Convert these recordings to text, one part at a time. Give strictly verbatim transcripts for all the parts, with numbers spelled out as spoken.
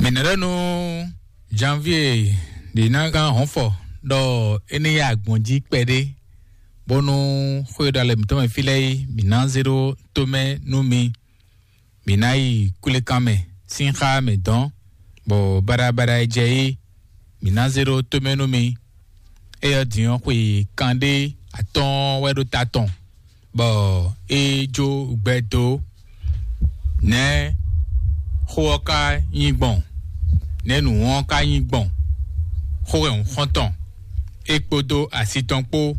Mǐ nɔ ɖɔ nú Janvier ɖě ná gán hɔnfɔ ɖɔ é ní yá agbɔ̌n jí kpɛɖé, bónú xwé ɖo alɛ mǐtɔn mɛ fí lɛ́ɛ é, mǐ ná zé ɖó tomɛ nú mi. Mǐ ná yi kwlékan mɛ sín xá mɛ dɔn, bɔ baɖabaɖa e jɛ é, mǐ ná zé ɖó tomɛ nú mi. Éyɛ́ din ɔ́, xwe kanɖé atɔ́ɔ́n wɛ ɖo ta tɔn, bɔ é jó gbɛ dó. Nɛ̌ xó ɔ́ ka nyí gbɔn? Nɛ̌ nǔ ɔ́ ka nyí gbɔn? Xó wɛ un xɔ́n tɔn, é kpódó asi tɔn kpó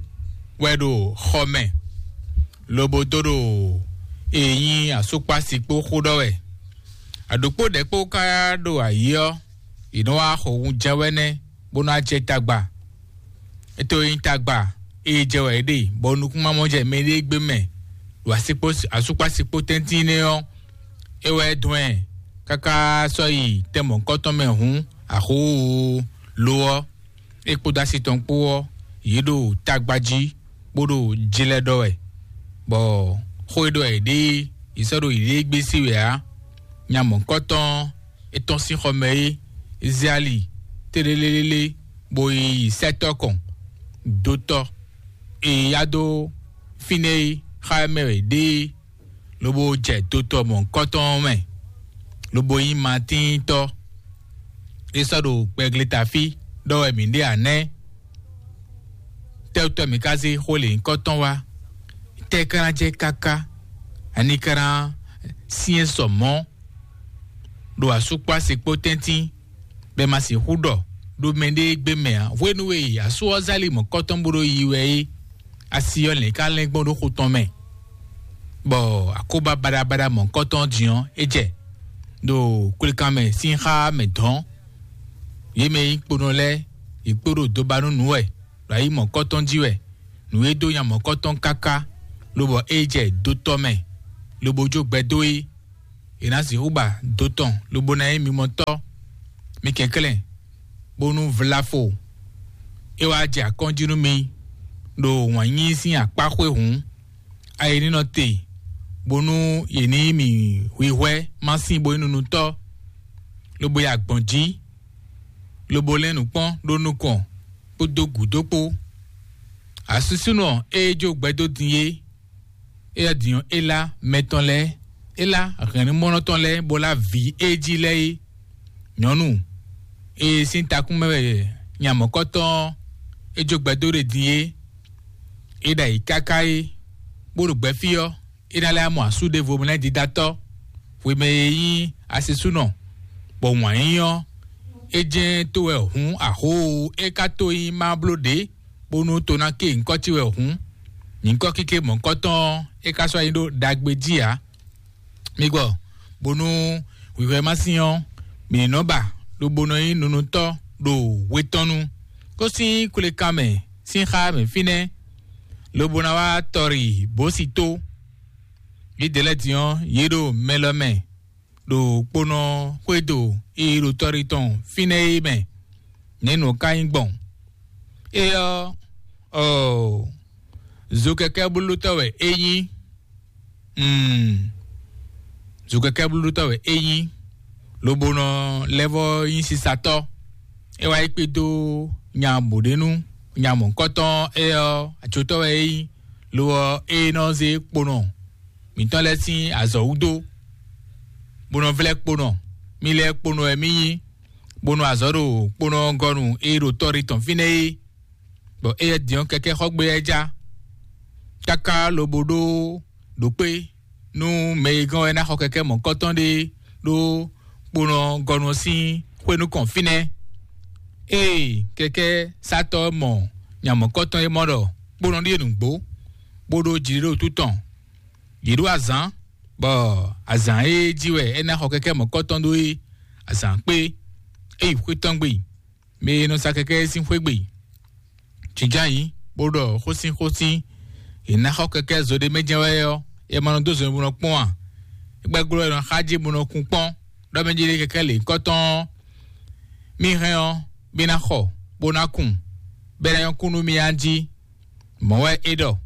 wɛ ɖo xɔ mɛ, lobo dó ɖo e nyí asúkpási kpó xó ɖɔ wɛ. Aɖǒkpó ɖɛ̌ kpó ka ɖo ayǐ ɔ́, yě nɔ wá xɔ wunjɛ́wɛ́nɛ́ bó ná jɛ tagba. É to nyí tagba e jɛ wɛ é ɖe, bɔ nukúnmamɔ jɛ mɛɖée gbé mɛ ɖo asúkpási kpó tɛ́ntin nɛ́ ɔ́, é wɛ dɔn ɛ káká sɔ́ yi tɛn mɔ̌hunkɔtɔn mɛ hǔn, axó lo ɔ́, é kpódó asi tɔn kpó ɔ́, yě ɖo tagba jí bó ɖo jlɛ́ ɖɔ wɛ, bɔ xó e ɖɔ yě ɖe é, yě sɔ́ ɖo yěɖée gbé sí wɛ ǎ. Nya mɔ̌hunkɔtɔn é tɔ́n sín xɔ mɛ é, é zé ali tlélélélé, bó yi sɛ́tɔ́ kɔn dó tɔ́ e yá dó fínɛ́ é xá mɛ wɛ ɖe é, lobo jɛ dotɔ mɔ̌hunkɔtɔn ɔ́ mɛ, lobo nyí Matíntɔ́. É sɔ́ ɖo gbɛgleta fí ɖɔ wɛ mǐ ɖe ǎ nɛ́. Tɛ́wútɔ́ mǐ ka zé xó lěhunkɔtɔn wá? Tɛ́ ka ná jɛ káká? Ani ka ná syɛ́n sɔ mɔ̌ ɖo asúkpási kpó tɛ́ntin, bɔ è ma sixú ɖɔ ɖo mɛɖée gbé mɛ ǎ. Hwenu e asú ɔ́ zálí mɔ̌kɔtɔn bó ɖo yi wɛ é, asi ɔ́ lɛ̌n ka lɛ́n gbɔn ɖó xo tɔn mɛ, bɔ akóbá baɖabaɖa mɔ̌kɔtɔn din ɔ́, é jɛ ɖo kwlékan mɛ sín xá mɛ dɔ̌n. Yě mɛ e nyí kponɔ lɛ́ɛ, yě kpo ɖo dobanúnú wɛ, ɖo ayi mɔ̌kɔtɔn jí wɛ. Nǔ e dó nya mɔ̌kɔtɔn káká, lobɔ é jɛ dotɔ́ mɛ, lobo jó gbɛ dó é. È nǎ sixú ba do tɔn lobo ná nyí mimɔtɔ́. Mi kɛnklɛ́n, bónú vlafo é wá jɛ akɔ́njí nú mi ɖo wǎn yíyí sín akpá xwé hǔn, ayi ní nɔ te, bónú yě ní yí mì hwihwɛ́ má sín bo nyí nunutɔ́, lobo yi agbɔ̌n jí, lobo lɛ́n nǔ kpɔ́n ɖó nukɔn kpódó gǔdo kpó. Asúsúnɔ e jó gbɛdó din é, éyɛ́ din ɔ́, é lá mɛ tɔn lɛ́ɛ, é lá hɛ̌nnumɔ́nɔ tɔn lɛ́ɛ, bó lá vǐ e jí lɛ́ɛ é. Nyɔ̌nu e sín takún mɛ wɛ nya mɔ̌kɔtɔn ɔ́, é jó gbɛdó ɖe din é, é ɖo ayǐ káká é, bó ɖo gbɛfí ɔ́, é ná lɛ́ mɔ asú ɖěvo mɛ lɛ́ɛ dídatɔ́, hwemɛ e nyí asisúnɔ, bɔ wǎn yíyí ɔ́, é jɛ́n tó wɛ hǔn axó, é ka tó nyí má bló ɖě, bónú to ná ké nyǐkɔ ce wɛ hǔn, nyǐkɔ kéké mɔ̌kɔtɔn ɔ́, é ka sɔ́ nyí ɖó ɖagbe jí ǎ. Mi gbɔ, bónú hwǐhwɛ́ ma sín ɔ́, mǐ ní nɔ ba, lobo nɔ nyí nunutɔ́ ɖo hwe tɔn nu. Kó sín kwlékan mɛ sín xá mɛ fínɛ́, lobo ná wá tɔri bǒ sí tó. Yědɛɛ lɛ́ɛ din ɔ́, yě ɖo mɛ lɔ mɛ, ɖo kponɔ xwédo e ɖo tɔri tɔn fínɛ́ é mɛ. Nɛ̌ nǔ ka nyí gbɔn? É ɔ́, ɔɔ, zokɛkɛ́blótɔ́ wɛ é nyí. Mm. Zokɛkɛ́blótɔ́ wɛ é nyí, lobo nɔ lɛ́ vɔ́ nyí sisatɔ́. É wá yi kpé dó nya bǒɖénú, nya mɔ̌kɔtɔn é ɔ́, acotɔ́ wɛ é nyí, lo ɔ́, é nɔ zé kponɔ mǐtɔn lɛ́ɛ sín azɔ̌ wú dó, bó nɔ vlɛ́ kponɔ. Mí lɛ́ɛ kponɔ wɛ mí nyí, bó nɔ azɔ̌ ɖo kponɔ gɔ́nu e ɖo tɔ́ ɖé tɔn fínɛ́ é, bɔ éyɛ́ din ɔ́, kɛkɛ́ xɔ gbé ɛ já, káká lobo ɖó ɖo kpé nú mɛ e gɔ́n wɛ ná xɔ kɛkɛ́ mɔ̌kɔtɔn ɖé ɖó kponɔ gɔ́nu ɔ́ sín xwé nukɔn fínɛ́. Ée kɛkɛ́ sátɔ́ ɔ́ mɔ nya mɔ̌kɔtɔn e mɔ ɖɔ kponɔ ɖíe nǔgbó, bó ɖó jiɖiɖótú tɔn, yě ɖó azǎn, bɔ azǎn e jí wɛ é ná xɔ kɛkɛ́ mɔ̌kɔtɔn ɖó é, azǎn kpé, é yi xwé tɔn gbe, mɛ e nɔ sa kɛkɛ́ é sín xwé gbe. Jǐnján yǐ, bó ɖɔ xósínxósín, è nǎ xɔ kɛkɛ́ zo ɖé mɛ jɛ́n wɛ ɔ́, è ma nɔ dó zo bó nɔ kpɔ́n ǎ. É gbɛ́ glɔ́ è nɔ xá jí bó nɔ kun kpɔ́n, ɖɔ mɛ jí ɖé kɛkɛ́ lě nyǐkɔ tɔn ɔ́, mì hɛn ɔ́, mì ná xɔ, bó ná kun, bɔ é ná nyɔ́ kú nú mì a jí. Mɔ̌ wɛ é ɖɔ,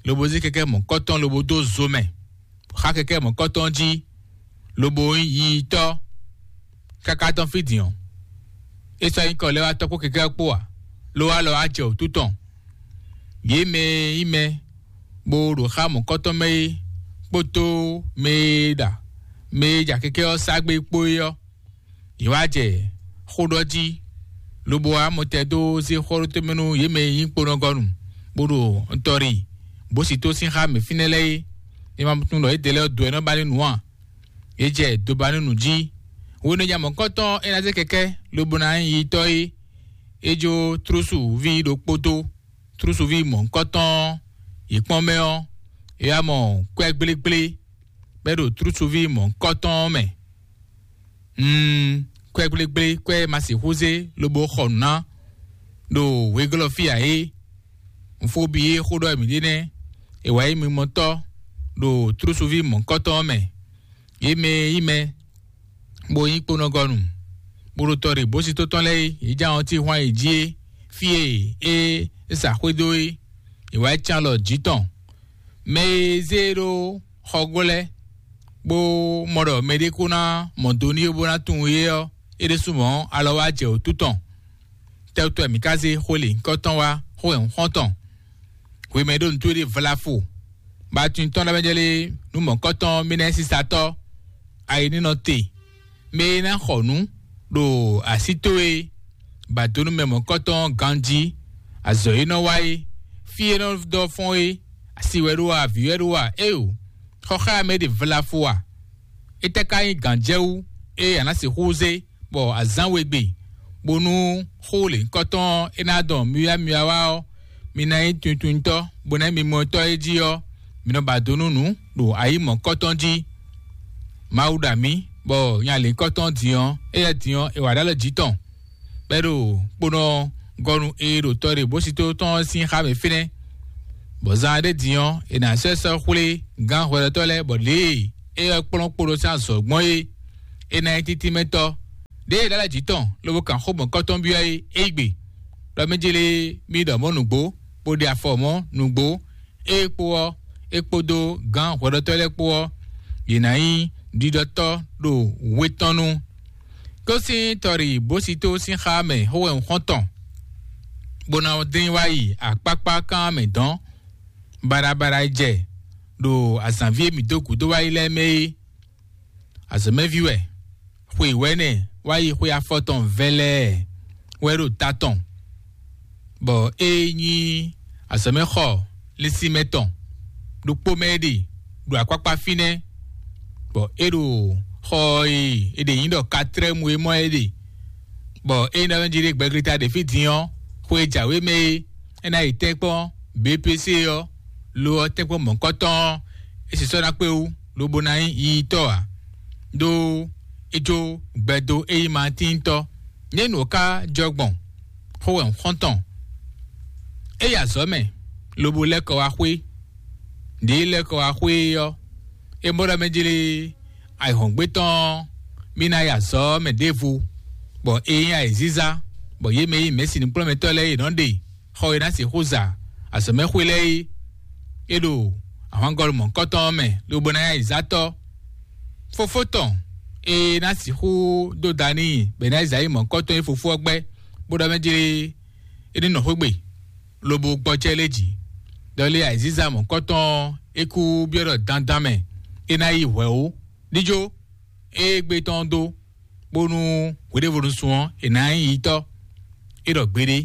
lobo zé kɛkɛ́ mɔ̌kɔtɔn lobo dó zo mɛ, xá kɛkɛ́ mɔ̌kɔtɔn jí, lobo nyí yiyitɔ́. káká tɔn fí din ɔ́, é sɔ́ nyí kɔ lɛ́ wá tɔ́ kpó kɛkɛ́ ɔ́ kpó ǎ, ló wá lɔ wá jɛ wǔtu tɔn. Yě mɛ e nyí mɛ bó ɖo xá mɔ̌kɔ́tɔn mɛ é kpódó mɛ e ɖa mɛ e ja kɛkɛ́ ɔ́ sá gbé kpó é ɔ́, yě wá jɛ xó ɖɔ jí, lobo wá mɔtɛn dó zé xó ɖó tɛ́nmɛ nú yě mɛ e nyí kponɔgɔnu, bó ɖo ntɔ́ ɖi bó si tó sín xá mɛ fínɛ́ lɛ́ɛ é. É ma tunwun ɖɔ yědɛɛ lɛ́ɛ dó ɛ nɔ ba ní nǔ ǎ. Yě jɛ dobanúnu jí. Hwenu e nya mɔ̌kɔtɔn é ná zé kɛkɛ́ lobo ná nyí yitɔ́ é, é jó trúsuví ɖokpó dó. Trúsuví mɔ̌kɔtɔn yě kpɔ́n mɛ ɔ́, é wá mɔ kwɛ́ gblégblé bɔ é ɖo trúsuví mɔ̌kɔtɔn ɔ́ mɛ. Mm, kwɛ́ gblégblé, kwɛ́ ma sixú zé lobo xɔ nǔ ná ɖo wegɔ́lɔ́ fí ǎ é. Nfóbi e xó ɖɔ mǐ ɖe nɛ́, è wǎ nyí mimɔtɔ́ ɖo trúsuví mɔ̌kɔtɔn ɔ́ mɛ. Yě mɛ e nyí mɛ, bó nyí kponɔgɔnu, bó ɖo tɔ ɖe bó sí tó tɔn lɛ́ɛ é, yě jɛ ahɔn tí hwan yě jí é, fí e é sa xwé dó é, è wǎ can lɔ jǐ tɔn. Mɛ e zé ɖó xɔgbó lɛ́ɛ, bó mɔ ɖɔ mɛɖé kó ná mɔ do n'i bó ná tunwun é ɔ́, é ɖésú mɔ̌ alɔ wá jɛ wǔtu tɔn. Tɛ́wútu wɛ mǐ ka zé xó lě nyǐkɔ tɔn wá xó wɛ xɔ́ntɔn? Hwemɛ ɖó nǔtú ɖé vlafo, bɔ atin tɔn ɖ'amɛ jɛ lé nú mɔ̌kɔtɔn mì nɛ́ sísatɔ́, ayinínɔ te, mɛ e ná xɔ nǔ ɖo así towe, ba do nú mɛ mɔ̌kɔtɔn ganjí, azɔ̌ e nɔ wa é, fí e nɔ dɔ fɔ́n é, asi wɛ ɖó a, avǐ wɛ ɖó a, éeǒ, xɔ xá mɛ ɖě vlafo a? Étɛ́ ka nyí gǎnjɛwú e a nǎ sixú zé bɔ azǎn we gbe, bónú xó lěhunkɔtɔn ɔ́ é ná dɔn myɔ́myɔ́ wá ɔ́, mi ná nyí tunwuntunwuntɔ́, bó ná nyí mimɔtɔ́ e jí ɔ́, mi nɔ ba do nú nǔ ɖo ayǐ mɔ̌kɔtɔn jí. Mawu ɖo amǐ, bɔ nya lěhunkɔtɔn din ɔ́, éyɛ́ din ɔ́, è wǎ ɖó alɔ jǐ tɔn, bɔ é ɖo kponɔ gɔnu e ɖo tɔ ɖe bó sito tɔn ɔ́ sín xá mɛ fínɛ́, bɔ zan ɖé din ɔ́, è nǎ sɛ́ sɔ́ xwlé gǎn hwɛɖɔtɔ́ lɛ́ɛ, bɔ lě e é wɛ kplɔ́n kpo ɖó sín azɔ̌ gbɔn é, é ná nyí títínmɛtɔ́. Đěe é ɖó alɔ jǐ tɔn lobo kan xó mɔ̌kɔtɔn byɔ́ é, é yí gbe, ɖɔ mɛ jlé mì ɖɔ mɔ̌ nǔgbó, bó ɖe afɔ mɔ̌ nǔgbó. É kpó ɔ́, é kpódó gǎn hwɛɖɔtɔ́ lɛ́ɛ kpó ɔ́, yě ná nyí ɖiɖɔtɔ́ ɖo we tɔn nu. Kó sín tɔɖi bó si tó sín xá mɛ xó wɛ un xɔ́n tɔn, bó ná dín wá yi akpákpá kán mɛ dɔ̌n. Baɖabaɖa e jɛ ɖo azǎn ví e mǐ dó gǔdo wá yi lɛ́ɛ mɛ é, azɔ̌mɛví wɛ, xwe wɛ̌nɛ wá yi xwe afɔtɔn vɛlɛɛ wɛ ɖo ta tɔn, bɔ é nyí azɔ̌mɛxɔ lɛ́nsinmɛ tɔn ɖokpó mɛ é ɖe ɖo akpákpá fínɛ́, bɔ é ɖo xɔ e è ɖe nyí ɖɔ katrɛ́mu é mɔ é ɖe, bɔ é nyí ɖɔ mɛ jí ɖe gbɛglita ɖe fí din ɔ́, xwe e jǎwe mɛ é, é ná yi tɛ́nkpɔ́n B P C ɔ́, lo ɔ́ tɛ́nkpɔ́n mɔ̌kɔtɔn ɔ́, é sisɔ ná kpé wú, lobo ná nyí yiyitɔ́ ǎ, ɖó é jó gbɛdo é nyí Matíntɔ́. Nɛ̌ nǔ ɔ́ ka jɔ gbɔn? Xó wɛ un xɔ́n tɔn. É yi azɔ̌ mɛ, lobo lɛ́ kɔ wá xwé. Nǔɖé lɛ́ kɔ wá xwé é ɔ́, é mɔ ɖɔ mɛ jlé ayǐhɔ́ngbe tɔn ɔ́, mì ná yi azɔ̌ mɛ ɖěvo, bɔ é nyí ayǐzízá, bɔ yě mɛ e nyí mɛ̌si nǔkplɔ́nmɛtɔ́ lɛ́ɛ e nɔ ɖe xɔ e ná sixú za azɔ̌mɛxwé lɛ́ɛ é, é ɖo ahwangɔ́ mɔ̌kɔtɔn ɔ́ mɛ, lobo ná nyí ayǐzátɔ́. Fofó tɔn e ná sixú dó da n'i bɔ è nǎ yi zǎ yi mɔ̌kɔtɔn e fofó ɔ́ gbɛ́, bó ɖɔ mɛ jlé é ní nɔ xwé gbe, lobo gbɔjɛ́ lé jǐ. Ɖɔ lé ayǐzíza mɔ̌kɔtɔn ɔ́, é kú byɔ́ ɖɔ dandan mɛ é ná yi hwɛ̌ ó. Díjó, é gbé tɔn dó, bónú hweɖěvonu sun ɔ́, è nǎ nyí yitɔ́. É ɖɔ gbeɖé,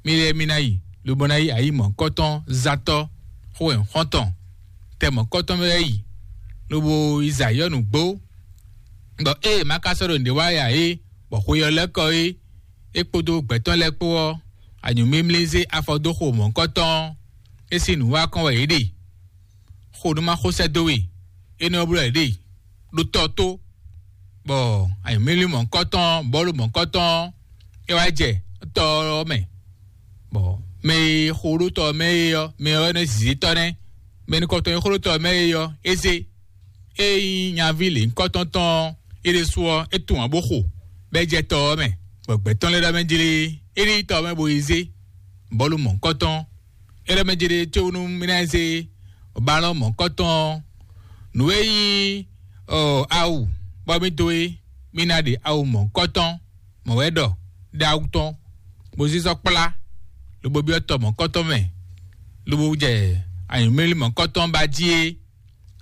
mì lɛ́ɛ mì ná yi, lobo ná yi ayǐ mɔ̌kɔtɔn zátɔ́ xó wɛ xɔ́ntɔn. Tɛ mɔ̌kɔtɔn mɛ wɛ yi, lobo yi zǎ yɔ́ nǔgbó, bɔ ée è ma ka sɔ́ ɖo nǔɖé wa ya é, bɔ xwe ɔ́ lɛ́ kɔ é, é kpódó gbɛ̌tɔ́ lɛ́ɛ kpó ɔ́, anyǔmimlí zé afɔ dó xo mɔ̌hunkɔtɔn ɔ́, é sín nǔ wa kɔn wɛ yě ɖe. Xo nú ma xo sɛ́ dó we, énɛ́ ɔ́ bló wɛ yě ɖe ɖo tɔ tó, bɔ anyǔmimlí mɔ̌hunkɔtɔn ɔ́, bɔ̌lu mɔ̌hunkɔtɔn ɔ́, é wá jɛ tɔ ɔ́ mɛ, bɔ mɛ e xo ɖó tɔ ɔ́ mɛ é ɔ́, mɛ ɔ́ nɛ́ zǐzítɔ́ nɛ́. Mɛ nukɔntɔn e xo ɖó tɔ ɔ́ mɛ é ɔ́, é zé. Ée nyí nyaví lěhunkɔtɔn tɔn ɔ́, é ɖésú ɔ́, é tunwun ǎ bó xo, bɔ é jɛ tɔ ɔ́ mɛ, bɔ gbɛ̌ tɔn lɛ́ɛ ɖɔ mɛ jlé, é ní yi tɔ ɔ́ mɛ bo yi zé bɔ̌lu mɔ̌hunkɔtɔn. É ɖɔ mɛ jlé có nú mì ná yi zé balɔ́n mɔ̌hunkɔtɔn ɔ́. Nǔ e nyí ɔ, awu bɔ mì dó é, mí ná ɖe awu mɔ̌hunkɔtɔn mɔ̌ wɛ ɖɔ ɖó awu tɔn, bó zízɔ kplá, lobo byɔ́ tɔ mɔ̌hunkɔtɔn mɛ, lobo jɛ anyǔmlímlí mɔ̌hunkɔtɔn ba jí é.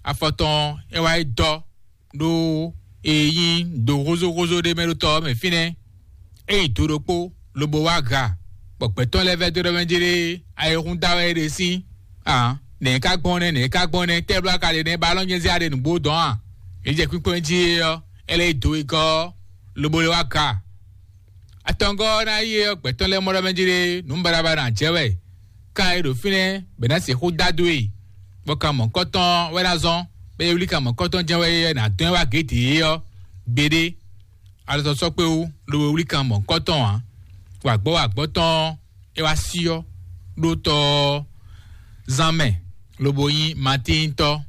Afɔ tɔn é wá yi dɔ ɖó e nyí do hózóhózó ɖé mɛ ɖó tɔ ɔ́ mɛ fínɛ́. É yi do ɖokpó, lobo wá ha, bɔ gbɛ̌tɔ́ lɛ́ɛ vɛ́ dó ɖɔ mɛ jí ɖé ayihún da wɛ é ɖe sín. Aa, nɛ̌ ka gbɔn nɛ́, nɛ̌ ka gbɔn nɛ́, tɛ́ bló ka ɖe nɛ́, ba nɔ nyɛ zé aɖe nǔgbó dɔn a? È jɛ kpínkpɔ́n jí é ɔ́, é lɛ́ yi do e gɔ́ ɔ́, lobo lɛ́ wá ga. Atɔngɔ́ ɔ́ ná yi é ɔ́, gbɛ̌tɔ́ lɛ́ɛ mɔ ɖɔ mɛ jí ɖé nǔ baɖabaɖa ná jɛ wɛ. Kan e ɖo fínɛ́ bɛ ná sixú dó adó e, bɔ kan mɔ̌kɔtɔn wɛ ná zɔ́n, bɔ é wlí kan mɔ̌kɔtɔn jɛ́n wɛ é ná dɔn ɛ wá gědě é ɔ́, gbeɖé. Alɔtɔn sɔ́ kpé wú, lobo wlí kan mɔ̌kɔtɔn ǎ. Wǎgbɔ́ wǎgbɔ́ tɔn ɔ́, é wá syɔ́ ɖó tɔ ɔ́ zán mɛ, lobo nyí Matíntɔ́.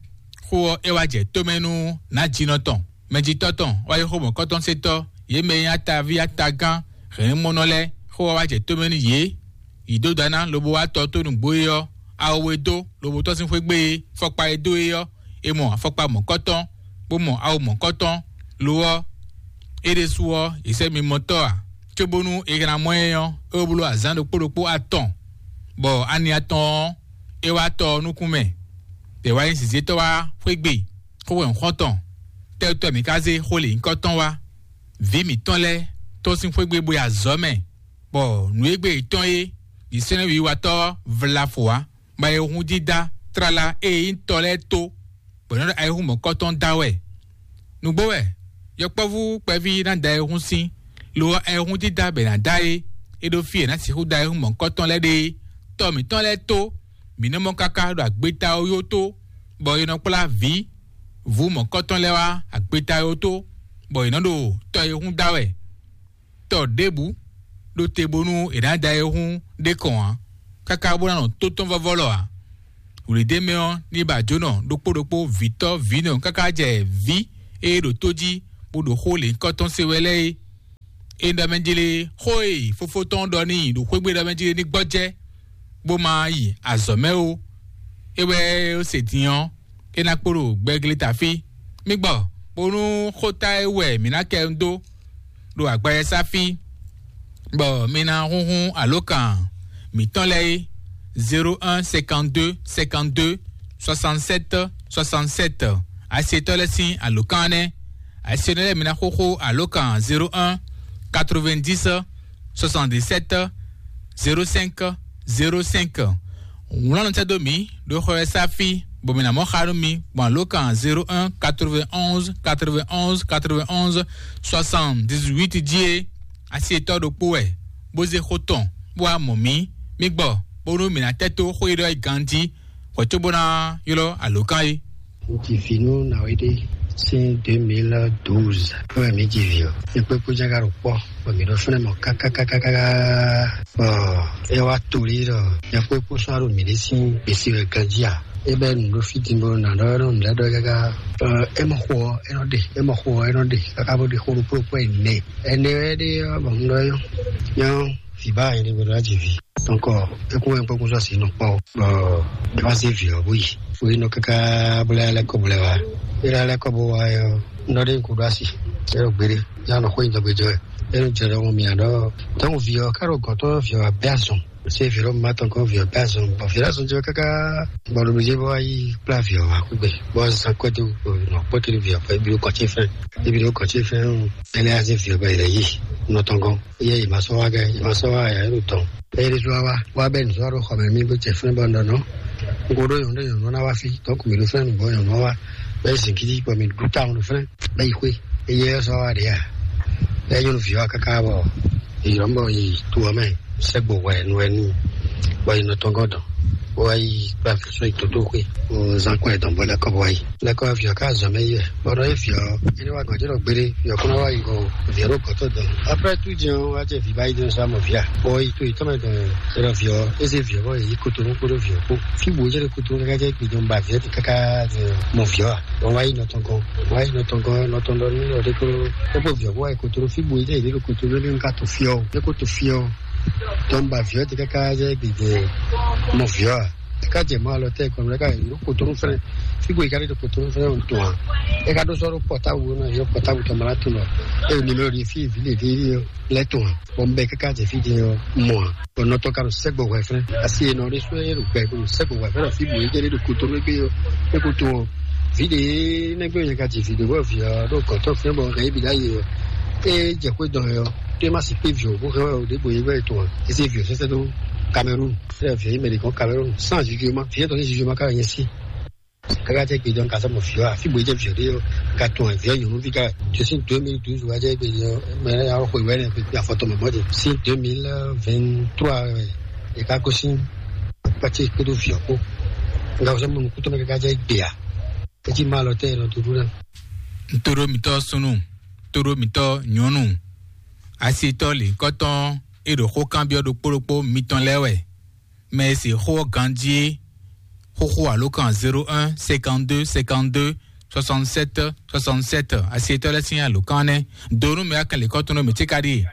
Xó ɔ́, é wá jɛ tómɛ nú nǎjínɔ tɔn, mɛjitɔ́ tɔn, wá yi xó mɔ̌kɔtɔn sétɔ́, yě mɛ e nyí ataví atagán hɛ̌nnumɔnɔ lɛ́ɛ. Xó ɔ́ wá jɛ tómɛ nú yě. Yǐdódana lobo wá tɔ tó nǔgbó é ɔ́, awu e dó lobo tɔ́ sín xwé gbe é, fɔkpa e dó é ɔ́, è mɔ afɔkpa mɔ̌kɔtɔn, bó mɔ awu mɔ̌kɔtɔn. Lo ɔ́, é ɖésú ɔ́, è sɛ́ mimɔtɔ́ ǎ, cóbónú è hɛn ná mɔ ɛ ɔ́, é wó bló azǎn ɖokpó ɖokpó atɔn, bɔ ani atɔn ɔ́, é wá tɔ ɔ́ nukún mɛ. Tɛ̌ wá nyí zǐzétɔ́ wá xwé gbe, xó wɛ un xɔ́n tɔn. Tɛ́ wútu wɛ mǐ ka zé xó lě nyǐkɔ tɔn wá? Vǐ mǐtɔn lɛ́ɛ tɔ́n sín xwé gbe bó yi azɔ̌ mɛ, bɔ nǔ e gbe yětɔn é, yě sɛ́n nú wiwatɔ́ vlafo ǎ, bɔ ayihún dídá tlala e nyí tɔ lɛ́ɛ tó, bɔ è nɔ ɖo ayihún mɔ̌kɔtɔn da wɛ. Nǔgbó wɛ, yɔkpɔ́vú kpɛví ná da ayihún sín, lo ɔ́, ayihún dídá bɛ è nǎ da é, é ɖó fí è nǎ sixú da ayihún mɔ̌kɔtɔn lɛ́ɛ ɖe é. Tɔ mǐtɔn lɛ́ɛ tó, mǐ nɔ mɔ káká ɖo agbeta ɔ́ yó tó, bɔ è nɔ kplá vǐ vǔ mɔ̌kɔtɔn lɛ́ɛ wá agbeta ɔ́ tó, bɔ è nɔ ɖo tɔ e hún da wɛ. Tɔ ɖěbǔ ɖo te bónú è nǎ da e hún ɖé kɔn ǎ, káká bó ná nɔ tó tɔn vɔ́vɔ́ lɔ ǎ. Wlǐdémɛ ɔ́ ní ba jǒnɔ ɖokpó ɖokpó vǐtɔ́ vǐnɔ káká jɛ vǐ e ɖo tó jí bó ɖo xó lěhunkɔtɔn se wɛ lɛ́ɛ é. É ɖɔ mɛ jlé xó e fofó tɔn ɖɔ n'i ɖo xwé gbe ɖɔ mɛ jlé ní gbɔjɛ́, bó ma yi azɔ̌ mɛ ó. É wɛ é se din ɔ́, é ná kpo ɖo gbɛgleta fí. Mí gbɔ, bónú xóta e wɛ mǐ ná kɛ dó ɖo agbawɛsá fí, bɔ mi ná húnhún alǒkan mǐtɔn lɛ́ɛ é: zéro un cinquante-deux cinquante-deux soixante-sept soixante-sept. Asetɔ́ lɛ́ɛ sín alǒkan nɛ́. Asetɔ́ lɛ́ɛ mi ná xóxó alǒkan zéro un quatre-vingt-dix soixante-dix-sept zéro cinq zéro cinq. Wlán nɔ sɛ́ dó mǐ ɖo xɔ e sá fí, bɔ mǐ ná mɔ xa nú mi gbɔn alǒkan zéro un quatre-vingt-onze quatre-vingt-onze quatre-vingt-onze soixante-dix-huit jí é. Asi yětɔn ɖokpó wɛ, bó zé xó tɔn, bó wá mɔ mǐ. Mí gbɔ, bónú mǐ ná tɛ́ tó xó e ɖɔ é ganjí, hwɛ̌ cóbó ná ylɔ́ alǒkan é. Un ji vǐ nú Nawéɖé sín deux mille douze. Wɛ mǐ ji vǐ ɔ́, é kpé kpó jɛ́n ka ɖo kpɔ́, bɔ mǐ ɖo fínɛ́ mɔ kákákákáká. Bɔ é wá to lí ɖɔ é kpé kpó sɔ́ ɖo mǐ ɖé sín gbèsè wɛ ganjí a? É bɛ́ nǔ ɖó fí din bó ná ɖɔ nɔ nǔ lɛ́ɛ ɖɔ káká. Ɔ, é mɔ xo ɔ́, é nɔ ɖe, é mɔ xo ɔ́, é nɔ ɖe káká bó ɖe xó ɖokpó ɖokpó ɛnɛ. Ɛnɛ wɛ ɖe ɔ́, bɔ un ɖɔ nyɔ́ nyɔ́ vǐ ba yɛ ɖé gbɔdɔ jí vǐ. Donc é kún wɛ kpɔ́kún sɔ́ sí nɔ kpɔ́, bɔ é wá zé vǐ ɔ́ bó yi. Bó yi nɔ káká bó lɛ́ lɛ́ kɔ bó lɛ́ wá. É lɛ́ lɛ́ kɔ bó wá ɔ́, un ɖɔ ɖé un kú ɖó asi. É ɖo gbeɖé, yá nɔ xó nyi dɔgbe jɔ wɛ. É nɔ jɛ ɖɔ mɔ mǐ ɖɔ, donc vǐ ɔ́ ká ɖo gɔ̌n tɔn vǐ ɔ́ wá bɛ́ azɔn. Se vǐ ɖo ma tɔn kɔn vǐ ɔ́ pɛ azɔn, bɔ vǐ ɖo azɔn jɛ káká, bɔ ɖo jɛ bɔ ayi kplá vǐ ɔ́ wá kúgbe, bɔ zan kɔ́ dó nɔ kpɔ́ kiri vǐ ɔ́ kpɔ́, ebi ɖo kɔ́ ce fɛn, ebi ɖo kɔ́ ce fɛn o. Ɛnɛ azé vǐ ɔ́ bɛ yɛ yi nɔ tɔn gɔn, yɛ yi ma sɔ wá gɛ, yi ma sɔ wá ya yɛ ɖo tɔn. Bɛ yɛ ɖésú wá wá, wá bɛ nǔ sɔ́ wá ɖo xɔ mɛ mí bó jɛ fɛn bɔ nɔ nɔ. N ko ɖó yɔn ɖó yɔn nɔ ná wá fí, donc mi ɖo fɛn nǔgbɔ yɔn nɔ wá, bɛ zin kiti bɔ mi ɖu ta ɖo fɛn, bɛ yi xwé, eyɛ sɔ wá ɖe ya. Bɛ nyɔnu vǐ wá káká bɔ Iyɔ́ bɔ yi to ɔ́ mɛ, sɛ́gbo hwɛ nu wɛ n'i, bɔ yi nɔ tɔn gɔ́ dɔn, bó wá yi kplá vǐ sɔ́ yi tótóxwé, bó zán kɔn ɛ dɔn bó lɛ́ kɔ bó wá yi. Lɛ́ kɔ vǐ ɔ́ ká zɔn mɛ yi wɛ, bɔ nɔ é vǐ ɔ́, é ní wá gɔ̌ jɛ ɖɔ gbéɖé, vǐ ɔ́ kún ná wá yi go, vǐ ɔ́ ɖo gɔ̌ tɔn dɔn. Après tout din ɔ́, wá jɛ vǐ ba yi din sɔ́ amɔ vǐ a, bɔ yi to yi tɔn mɛ dɔn, é ɖɔ vǐ ɔ́, é zé vǐ ɔ́ bɔ yi yi kotonu kpódó vǐ ɔ́ kpó. Fí bǔ é jɛ ɖo kotonu káká jɛ gbe dɔn ba vǐ ɔ́ ti káká mɔ vǐ ɔ́ a? Wọ́n wá yi nɔ tɔn gɔ́n, wọ́n wá yi nɔ tɔn gɔ́n, nɔ tɔn ɖɔ nú nɔ ɖé kó kókó vǐ ɔ́ kó wá yi kotoro fí bǔ é jɛ yě ɖo kotoro lé ká to fí ɔ́, é kó to fí ɔ́. Tɔn ba vǐ ɔ́ ti káká jɛ gbèdè mɔ vǐ ɔ́ a? Ká jɛ mɔ alɔ tɛ kɔn lɛ ká yɛ kotonu fɛnɛ. Figo yi ká ɖe kotonu fɛnɛ o tɔn a. E ka ɖo sɔrɔ pɔtabu na yɔ pɔtabu tɔn mala tɔn lɔ. E nimero de fi vi le de lɛ tɔn a. Bɔn bɛ kaka jɛ fi de yɔ mɔ a. Bɔn nɔtɔ ka ɖo sɛgbɔ wɛ fɛnɛ. Asi e nɔ ɖe sɔ e ɖo gbɛ ko sɛgbɔ wɛ fɛnɛ figo yi jɛ ɖe ɖo kotonu gbe yɔ. E ko tɔn o. Vi de ne gbe yɛ ka jɛ vi de wɔ vi ɔ ɖo gɔtɔ fɛnɛ bɔ hɛn ibi da yi yɔ. E jɛ xwe dɔn yɔ. Te ma si kpe vi o ko hɛn o de bo yi gbɛ tɔn a. Ese vi o sɛsɛ do Cameroun. Fɛn vǐ mɛ ɖě gɔ́n Cameroun sans jugement, vǐ tɔn sín jugement ká nyɛ sí. Káká jẹ́ gbèjọ́ ka sɔmɔ fíọ́ àfi gbèjẹ́ fíọ́ ɖé yɔ ka tún ẹ̀ fíọ́ nyɔ̌nu fí ká. Tó sín deux mille douze wá jẹ́ gbèjọ́ mɛ ẹ̀ yà xwe wɛ nɛ pé afɔtɔ mɛ mɔdé sín deux mille vingt-trois wɛ ẹ̀ ká kó sín pàtí kpédó fíọ́ kó. Nga wọ́n sẹ́ mɔ nukúntɔ́ mɛ káká jẹ́ gbèyà. Etí má lọ tẹ́ ẹ̀ nɔ tó dúró náà. Ntoro mitɔ sunu, toro mitɔ nyɔnu, asitɔ lǐnkɔtɔn e ɖo xó kanbyɔ́ ɖokpó ɖokpó mitɔn lɛ́ɛ wɛ. Mɛ e se xó ɔ́ ganjí é, xóxó alǒkan zéro un cinquante-deux cinquante-deux soixante-sept soixante-sept, asitɔ lɛ́ɛ sín alǒkan nɛ́. Do nú mɛ akɛn lǐnkɔtɔn nú mǐ cíkaɖi.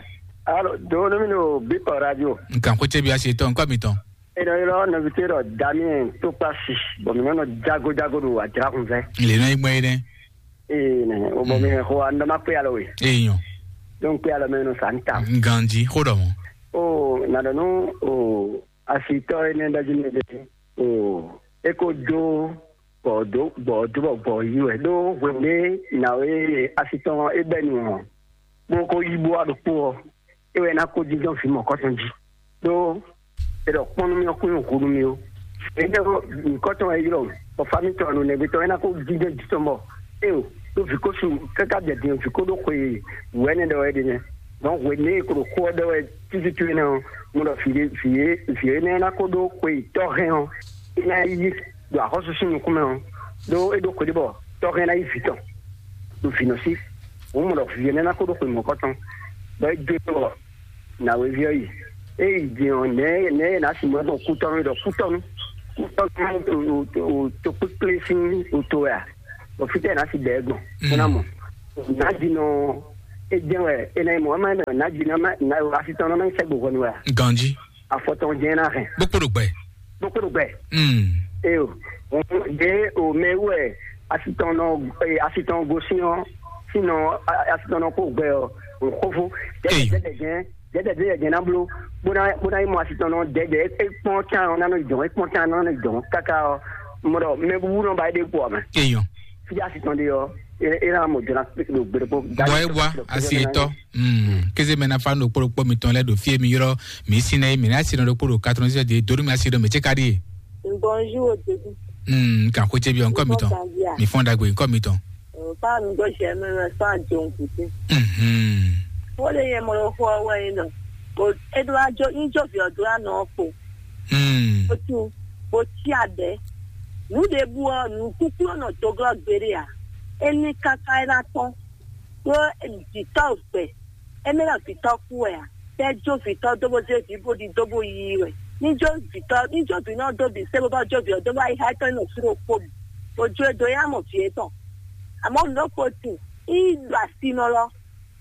Alo, do nú mi ɖo Bíkɔ Radio. Nkan xó cébi asitɔ ŋkɔ mitɔn. Eno ylɔ nɔvite ɖɔ Damien Tokpasi, bɔ mi nɔnɔ jago jago ɖo ajra kun fɛ. Le nɔ yi gbɔn yi nɛ. Ee nɛ, o bɔ mi nɛ xo an dɔ ma kpe alɔ we. Ee nyɔ. Donc kpe alɔ mɛ nɔ sa n ta. Ganji xó ɖɔ mɔ. O na ɖɔ nu o asitɔ ene ɖɔ jí mi ɖe. O e ko do bɔ do bɔ do bɔ bɔ yi wɛ ɖo hwenu ɖe na o e asitɔ e bɛ nu ɔ. Bó ko yí bó wá ɖokpó ɔ, é wɛ ná kó jínjɔ́n vǐ mɔ̌kɔtɔn jí. Ɖó è ɖɔ kpɔ́n nú mì ɔ́ kún nyi hǔ nú mì ó. È ɖɔ nyǐkɔ tɔn wɛ ylɔ́, bɔ fá mǐtɔn nǔnɛgbé tɔn é ná kó jínjɔ́n jǐ tɔn bɔ é o ɖó vǐ ko su káká jɛ din vǐ ko ɖó xwe wǔ ɛnɛ ɖɔ wɛ é ɖe nɛ́. Dɔn hwenu e è ko ɖo xó ɔ́ ɖɔ wɛ tútútú énɛ́ ɔ́, mo ɖɔ vǐ ɖé vǐ é vǐ énɛ́ ná kó ɖó xwe tɔ́ hɛn ɔ́, é ná yí ɖo axɔ́súsú nukún mɛ ɔ́, ɖó é ɖó xwe ɖé bɔ tɔ́ hɛn ná yí vǐ tɔn ɖo vǐ nɔ sí. Hǔn mo ɖɔ vǐ énɛ́ ná kó ɖó xwe mɔ̌kɔ tɔn, bɔ é dó bɔ nǎwéví ɔ́ yi. É yi din ɔ́, nɛ̌ nɛ̌ è nǎ si mɔ ɛ gbɔn kútɔ́nú ɖɔ kútɔ́nú kútɔ́nú tokpékplé sín oto wɛ a? Bɔ fítɛ́ è nǎ si bɛ ɛ gbɔn bó ná mɔ. Nǎjinɔ é jɛ́n wɛ é ná nyí mɔ̌, é má nyí mɛ nǎjinɔ má ná asitɔ́nɔ má nyí sɛ́gbo hwɛnu wɛ a? Ganjí. Afɔtɔn jɛ́n ná hɛn. Bó kpo ɖo gbɛ. Bó kpo ɖo gbɛ. Mm. Eyo, ɖe o mɛ wɛ asitɔn nɔ asitɔn gosín ɔ́, sinɔ asitɔn nɔ kó gbɛ ɔ́, xófó. Eyo. Dɛdɛ jɛn dɛdɛ de yɛ jɛn na blo bó ná bó ná yi mɔ asitɔn nɔ dɛdɛ é kpɔn can ɔ́ ná nɔ jɔn é kpɔn can ɔ́ ná nɔ jɔn káká ɔ́, mɔ ɖɔ mɛ búbú nɔ ba é ɖe kpɔ mɛ. Eyɔn. Fíjá asitɔn ɖe ɔ́, é é ná mɔ jɔna ɖo gbeɖokpó. Bɔ é wá asi etɔ. Mm. Kéze mɛ na fa ɖokpó ɖokpó mitɔn lɛ ɖo fie mi ylɔ mi si nɛ mi na si nɔ ɖokpó ɖo katɔn sɛ de donu mi asi ɖo mi tse ka ɖi. Bonjour, Ododou. Mm, kan xo tse bi ɔnkɔ mitɔn. Mi fɔn dagbe ɔnkɔ mitɔn. Fa mi gbɔ sɛ mi mɛ fa jɔn kuti. Mhm. Wo le yɛ mɔ xɔ wɛ yi nɔ. O e do ajo in jo vi o do anɔ ko. Mm. O tu bo tsi adɛ. Nu ɖe bu ɔ nu kúkú nɔ do glɔ gbeɖe a. Eni kaka e na tɔn. Ɖó vǐtɔ́ gbɛ, émí ná vǐtɔ́ kú wɛ a? Tɛ́ jó vǐtɔ́ dó bó zé vǐ bó ɖi dó bó yí wɛ. Ní jó vǐtɔ́ ní jó vǐ nɔ dó bǐ sé bó bá jó vǐ ɔ́ dó bá yi xá étɔn nɔ fí ɖokpó mɛ. Bó jó e dó yá mɔ vǐ étɔn. Àmọ́ nǔ ɖokpó tin, í ɖo asinɔ lɔ,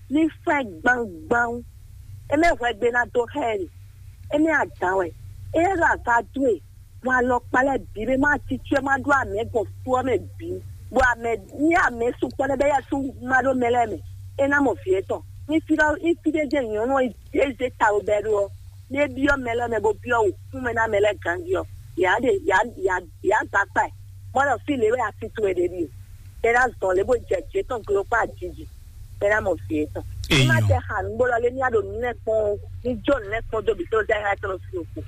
ní fɛ́ gbangban. Émí hwɛgbe ná dó xá ɛ ɖe. Émí adǎn wɛ. É ɖo aga dó e. Bɔ alɔkpa lɛ́ɛ bǐ ɖé má titú ɛ má ɖó amɛ gbɔn fú ɔ́ mɛ bǐ, bɔ amɛ ní amɛ sukpɔ́ lɛ́ɛ bɛ́ yɛ́ sú má ɖó mɛ lɛ́ɛ mɛ, é ná mɔ vǐ étɔn. Ní fí ɖɔ ní fí ɖé jɛ nyɔ̌nu ɔ́ é zé ta ɖo bɛ́ ɖó ɔ́, ní é byɔ́ mɛ lɛ́ɛ mɛ bó byɔ́ wǔkún mɛ ná mɛ lɛ́ɛ ganjí ɔ́, yǎ ɖe yǎ yǎ yǎ gba kpa ɛ, bɔ ɖɔ fí lě wɛ asi towe ɖe ɖíe, é ná zɔn lě bó jɛ jǐ étɔn glo kpó ajiji, é ná mɔ vǐ étɔn. Ní má tɛ xa nǔgbó lɔ lé ní á ɖo nǔ lɛ́ɛ kpɔ́n ó, ní jó nǔ lɛ́ɛ kpɔ́n dó bǐ tó zɛ xá tɔn fi òkú.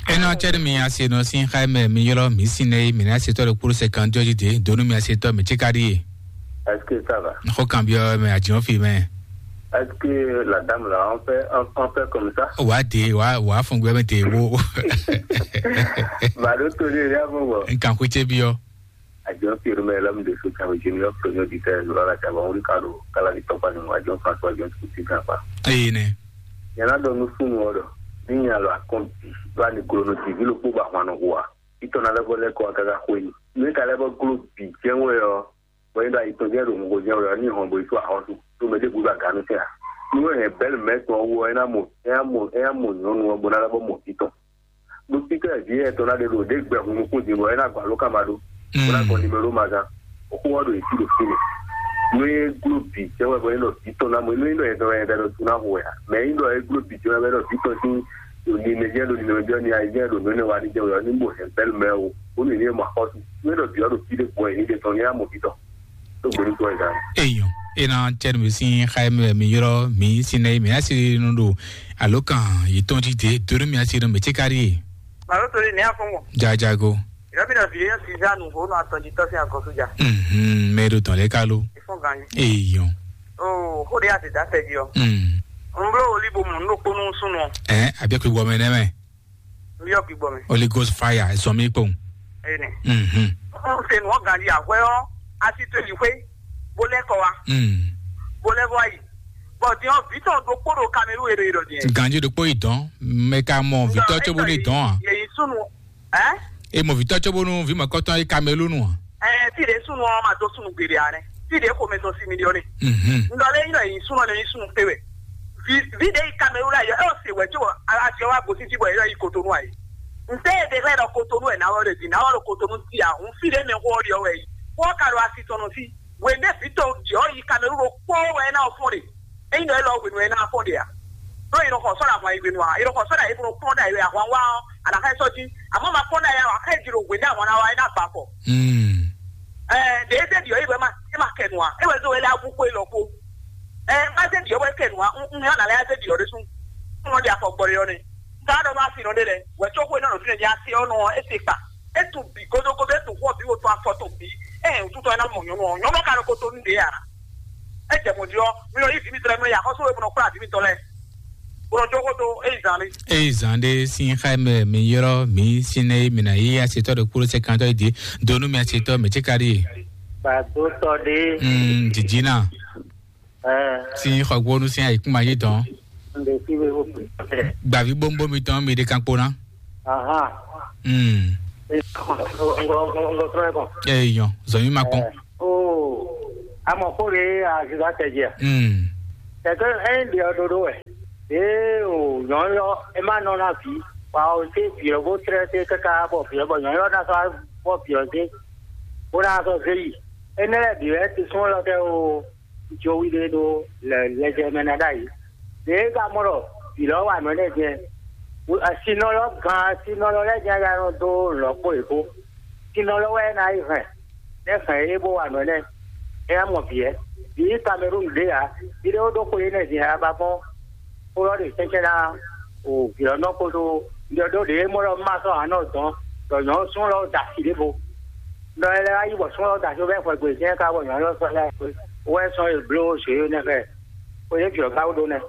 Ena cɛɖi mi ase nɔ sin xa mɛ mi ylɔ mi sin nɛ mi na se tɔ ɖe kpolo sɛ kan jɔji de donu mi ase tɔ mi tsi ka ɖi ye. Est-ce que ça va? Xɔ kan biɔ mɛ adzɔ fi mɛ. Est-ce que la dame là on fait on, on fait comme ça? Wa de wa wa fun gbɛ mɛ de wo. Ba do to le ya bo bo. Nkan ku tse biɔ. Adjɔn Pierre mɛ lɛm de so tsan junior premier auditeur lɔ la tsan bɔn wuli ka do kala di tɔkpa ni mo adjɔn François John Kuti kan pa. Eye nɛ. Yana dɔ nu sunu ɔ dɔ ni nya lɔ akɔn bi ba ni glo no divi lo kpo ba hwan no hua. Itɔ na lɛ bɔ lɛ kɔ kaka xwe ni. Ne ka lɛ bɔ glo bi jɛn wɛ ɔ. Bɔ yin do ayi tɔn jɛn do ŋgo jɛn wɛ ɔ ni hɔn bo yi to ahɔ su. To mɛ de bu ba ganu tɛ a. Ni wɛ hɛn bɛl mɛ tɔn wɔ ɛ na mo ɛ ya mo ɛ ya mo nyɔnu ɔ bo na lɛ bɔ mo bi tɔn. Ɖó títɔ́ ɛ vǐ yɛ tɔn ná ɖe ɖo ɖě gbɛ hun nukún din bɔ é ná gba ló ká ma ɖó. Bó ná gɔn nimero ma gán. Òkú wá ɖo yě sí ɖo fínɛ́. Nú é gló bǐ jẹ́ wɛ bɔ é nɔ vǐ tɔn ná mɔ nú é nɔ yɛ tɔn yɛ ɖɔ tún ná hu wɛ ǎ. Mɛ é nɔ é gló bǐ jẹ́ wɛ bɔ é nɔ vǐ tɔn sín ɖo nimɛ jẹ́ ɖo nimɛ jẹ́ ni ayé jẹ́ ɖo nǔ énɛ́ wa ní jẹ́ wɛ ɔ́ ní mɔ hɛn bɛ́lú mɛ o. Bónú yě ní é mɔ axɔ́sú. Nú é nɔ vǐ ɔ́ ɖo fí ɖé gbɔn yě ní ɖe tɔn ní á mɔ vǐ tɔn. Tó gbóni kɔ ɛ gán. Eyɔn, ena cɛnu mi sin xayɛ mi wɛ mi ylɔ mi sin nɛ mi asi nu ɖo alo kan yi tɔn ti de donu mi asi nu mi tse kari ye. Màlúù torí ní àfọwọ́. Jajago. Ìrọ́bìnrin ọ̀sìn yẹn sì dánù òun àtọ̀jì tọ́sí àkọ́sójà. Mhm, mẹ́rin tán lẹ́ ká ló. Ìfún gan ni. Eyɔn. O, ó de àti dáfẹ́ jí ọ. Mm. N bló olíbo mọ̀ ní òpónú súnú ọ. Ɛ, àbí ẹ kò wọ mẹ nẹ mẹ. N bí ọ gbígbọ́ mi. Holy Ghost fire, ẹ sọ mí kpɔn. Ẹni. Mhm. N ṣe nù ọ gan di àwẹ́ ọ, a sì tó ìlú pé, bó lẹ́kọ̀ọ́ wa, Mm. bó lẹ́kọ̀ọ́ wa yìí. Bọ̀ di ọ, bí tọ̀ dó kpódò Kamelu èrò èrò di ẹ. Ganji ɖokpó yi dɔn, mɛ ka mɔ vitɔ tso bo ne dɔn a? Yẹ̀yìn súnú, ẹ́? E mɔ vitɔ tso bo nu vi mɔ kɔtɔn yi Kamelu nu a? Ɛ, tí ɖe súnú ọ ma dó súnú gbèdé a nɛ. Tí ɖe xomɛ tɔn sí mi di ọ ne. Mhm. N dɔ lé yín lɔ yìí súnú ọ ne yín súnú pé wɛ. Vi, vi ɖe yi Kamelu la yɔ, ɛ, o se wɛ tso a, a, a, a, a, gosisi bɔ yɛ yi Kotonu a yi. N tɛ de xlɛ ɖɔ Kotonu wɛ nawɔ ɖe di, nawɔ ɖo Kotonu ti a, hun fi ɖe mɛ xɔ ɖiɔ wɛ yi. Xɔ ka ɖo asi tɔn nɔ fi. Wende fi tɔn jɔ yi Kamelu ɖo kpɔ wɛ na fɔn ɖe. Eyi nɔ elɔ hwenu ena fɔn ɖe a. Ɖo yi nɔ xɔ sɔ ɖe ahwan yi hwenu a, yi nɔ xɔ sɔ ɖe ayi bɔ kplɔn ɖe ayi wɛ ahwan wa ɔ, a nɔ xɛ sɔ jí. Amɔ ma kpɔn ɖe ayi a, wa xɛ jí ɖo hwenu ahwan na wa ena ba kɔ. Mm. Ɛ, ɖe eze ɖiɔ yi wɛ ma, e ma kɛ nu a, e wɛ zo wɛ lɛ abu ko elɔ ko. Ɛ, ma ze ɖiɔ wɛ kɛ nu a, n, n yɔ na lɛ aze ɖiɔ ɖe sun. N nɔ ɖi afɔ gbɔ ɖe yɔ ne. N ka ɖɔ ma fi nɔ ɖe lɛ, wɛ tso ko enɔ nɔ fi ne ɖi asi ɔ nɔ, e se kpa. E tu bǐ godogodo, e tu xɔ bǐ, wo tu afɔ tɔn bǐ. Ɛ, wututɔ e ná mɔ nyɔnu ɔ, nyɔnu ɔ ka ɖo ko to nu ɖe a. E jɛ mɔ jí ɔ, mi nɔ yi vǐ mitɔn lɛ, mi nɔ yi axɔ́sú e, mi nɔ kplá vǐ mitɔn lɛ. Bo nɔ jó xó dó, e yi zan lé. Eyi zan ɖe sin xa mɛ mi ylɔ mi sin nɛ mi na yi asetɔ ɖo kpolo sɛ kantɔ yi di donu mi asetɔ mɛ tse ka ɖi. Gbadotɔ ɖe. Mm, jijina. Ɛ. Sin xɔgbónu sin ayikuma yi dɔn. N ɖe fi we wo. Gbavi bombo mi tɔn mi ɖe kan kpo na. Aha. Mm. Ngo ngo ngo ngo trɔ ko. Eyi yɔn, zɔn mi ma kpɔn. Ɛ. O, amɔ xó ɖe aziza tɛjɛ. Mm. Tɛtɛ ɛyin ɖe ɔ ɖoɖo wɛ. Ee o, nyɔ̌nyɔ e ma nɔ na vǐ, bɔ a se vǐ ɔ́ bó tlɛ́ dó káká bɔ vǐ ɔ́, bɔ nyɔ̌nyɔ ná sɔ́ bɔ vǐ ɔ́ dó, bó ná sɔ́ zé yi. Énɛ́ lɛ́ɛ bǐ wɛ tisɔn élɔ́ kɛ o, jowi ɖé ɖó lɛjɛ mɛ ná ɖ'ayǐ. Ɖě e ka mɔ ɖɔ vǐ lɔ́ wa nǔ énɛ́ jɛ́n, sinɔ lɔ́ gan, sinɔ lɔ́ lɛ́ɛ jɛ́n ya nɔ dó lɔ̌ kpó yě kpó. Sinɔ lɔ́ wɛ é ná yi hɛn, nɛ́ hɛn é bó wa nǔ énɛ́. É ná mɔ vǐ ɛ. Vǐ Kamerúnu ɖě ǎ. Vǐ ɖé ó ɖó xwe énɛ́ din ǎ, ba gbɔn xó ɔ́ ɖe tɛ́nkyɛ́n ná o vǐ ɔ́ nɔ kpódó ɖɔ ɖó ɖě é mɔ ɖɔ má sɔ́ ǎ nɔ dɔn ɖɔ nyɔ̌nu súnnu lɔ da asi ɖěvo. Ɖɔ ɛ lɛ́ wá yi bɔ súnnu lɔ da asi bɔ é xwɛ gbe jɛ́n ká bɔ nyɔ̌nu lɔ sɔ́ lɛ́ wɛ sɔ́ e bló zě nɛ́ xɛ xwe yě vǐ ɔ́ ká wú ɖó nɛ́.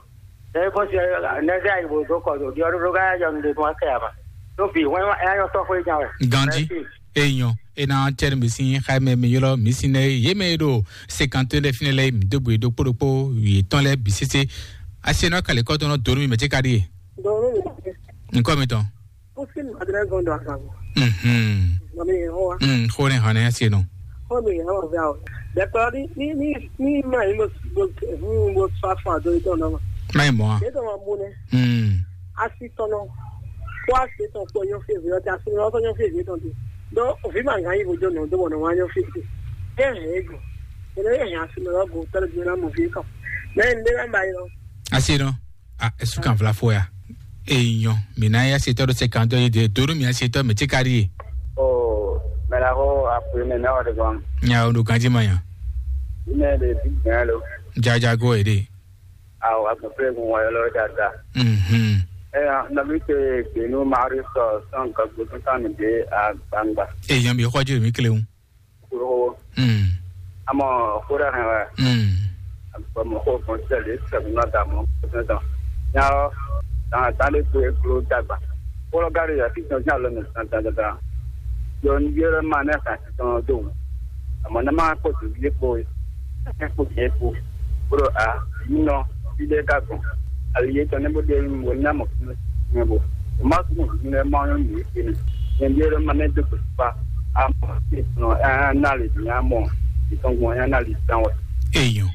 Ɛ é gosín nɛ́ zé ayi bó dó kɔ ɖo ɖiɔ́ ɖó ká yá yɔnu ɖe tɔn wá kɛ ǎ ma. Ɖó vǐ hwɛ́n wá é ná nyɔ́ sɔ́ xwé nya wɛ. Ganjí. Mɛ̌si. Eyɔn, e na cɛ́ nú mi sín xá mɛ mi ylɔ́ mi sín nɛ́ yě mɛ e ɖo sekantɔ́ lɛ́ɛ fínɛ́ lɛ́ɛ mi dó gbe ɖokpó ɖokpó yětɔn lɛ́ɛ bǐ sésé. Asi e nɔ ka lě kɔ́ tɔn nɔ dó nú mi mɛ cé ka ɖíe? Dɔn nú mi. Nukɔ mitɔn. Pusi madrɛ gɔn dɔ akan. Mhm. Mami ho wa. Mm, xó ne hàn ne asi nɔ. Xó mi yɛ wɔ vɛ o. Dɛkɔ ni ni ni ni ma yi mo mo mo fa fa do yi tɔn nɔ. Ma yi mɔ. Ye tɔn ma bu ne. Mm. Asi tɔn nɔ. Ko asi tɔn kpɔ nyɔ fi vi ɔtí asi nɔ tɔn nyɔ fi vi tɔn ti. Do ovi ma nga yi bo jo nɔ do bɔ nɔ wa nyɔ fi ti. E hɛn ego. Ele e hɛn asi nɔ go tɔlɔ bi na mo vi tɔn. Mɛ n de na ba yi lɔ. Asi nɔ. A, esu kan vla fo ya. Eyɔn, mi na ya se tɔɖo se kan dɔ yi de donu mi ya se tɔ mi ti kari ye. O, mɛ la ko a pe mɛ na wa de gɔn. Nya o do ganji ma nya. Ine de bi gan lo. Jaja go e de. A o a pe pe gun wa lo da da. Mhm. E ya na mi te gbenu mari sɔ san ka go san mi de a gbangba. Eyɔn bi xɔ ju mi kle un. Kúrò. Mm. Àmọ́ kódà hàn wá. Mm. Àgbà mọ̀ kó kàn tẹ̀lé sẹ̀kúnná dà mọ́ kó tán tán. Nyá ọ́, tàn tán lè gbé kúrò dàgbà. Kóló gárí yà fi tán sí àlọ́ mi tán tán tán. Yọ ní yẹ́rẹ́ máa ní ẹ̀ka sí tán dò. Àmọ́ ní máa kó tù yé kpó yé. Ẹ kó yé kpó. Kúrò a, yìí nọ, ilé ká gbọ̀n. Àlè yé tán ní bó dé wò ní àmọ̀ fún mi bò. Má tún mọ̀ fún mi lẹ́ máa ń yọ̀ ní ìpinnu. Yẹn bí ẹ̀rọ máa ní dókòtò pa. Àmọ́ sí ìtàn ẹ̀ ẹ̀ náà lè dín àmọ́ ìtàn gbọ̀n ẹ̀ náà lè dán wẹ̀. Èèyàn.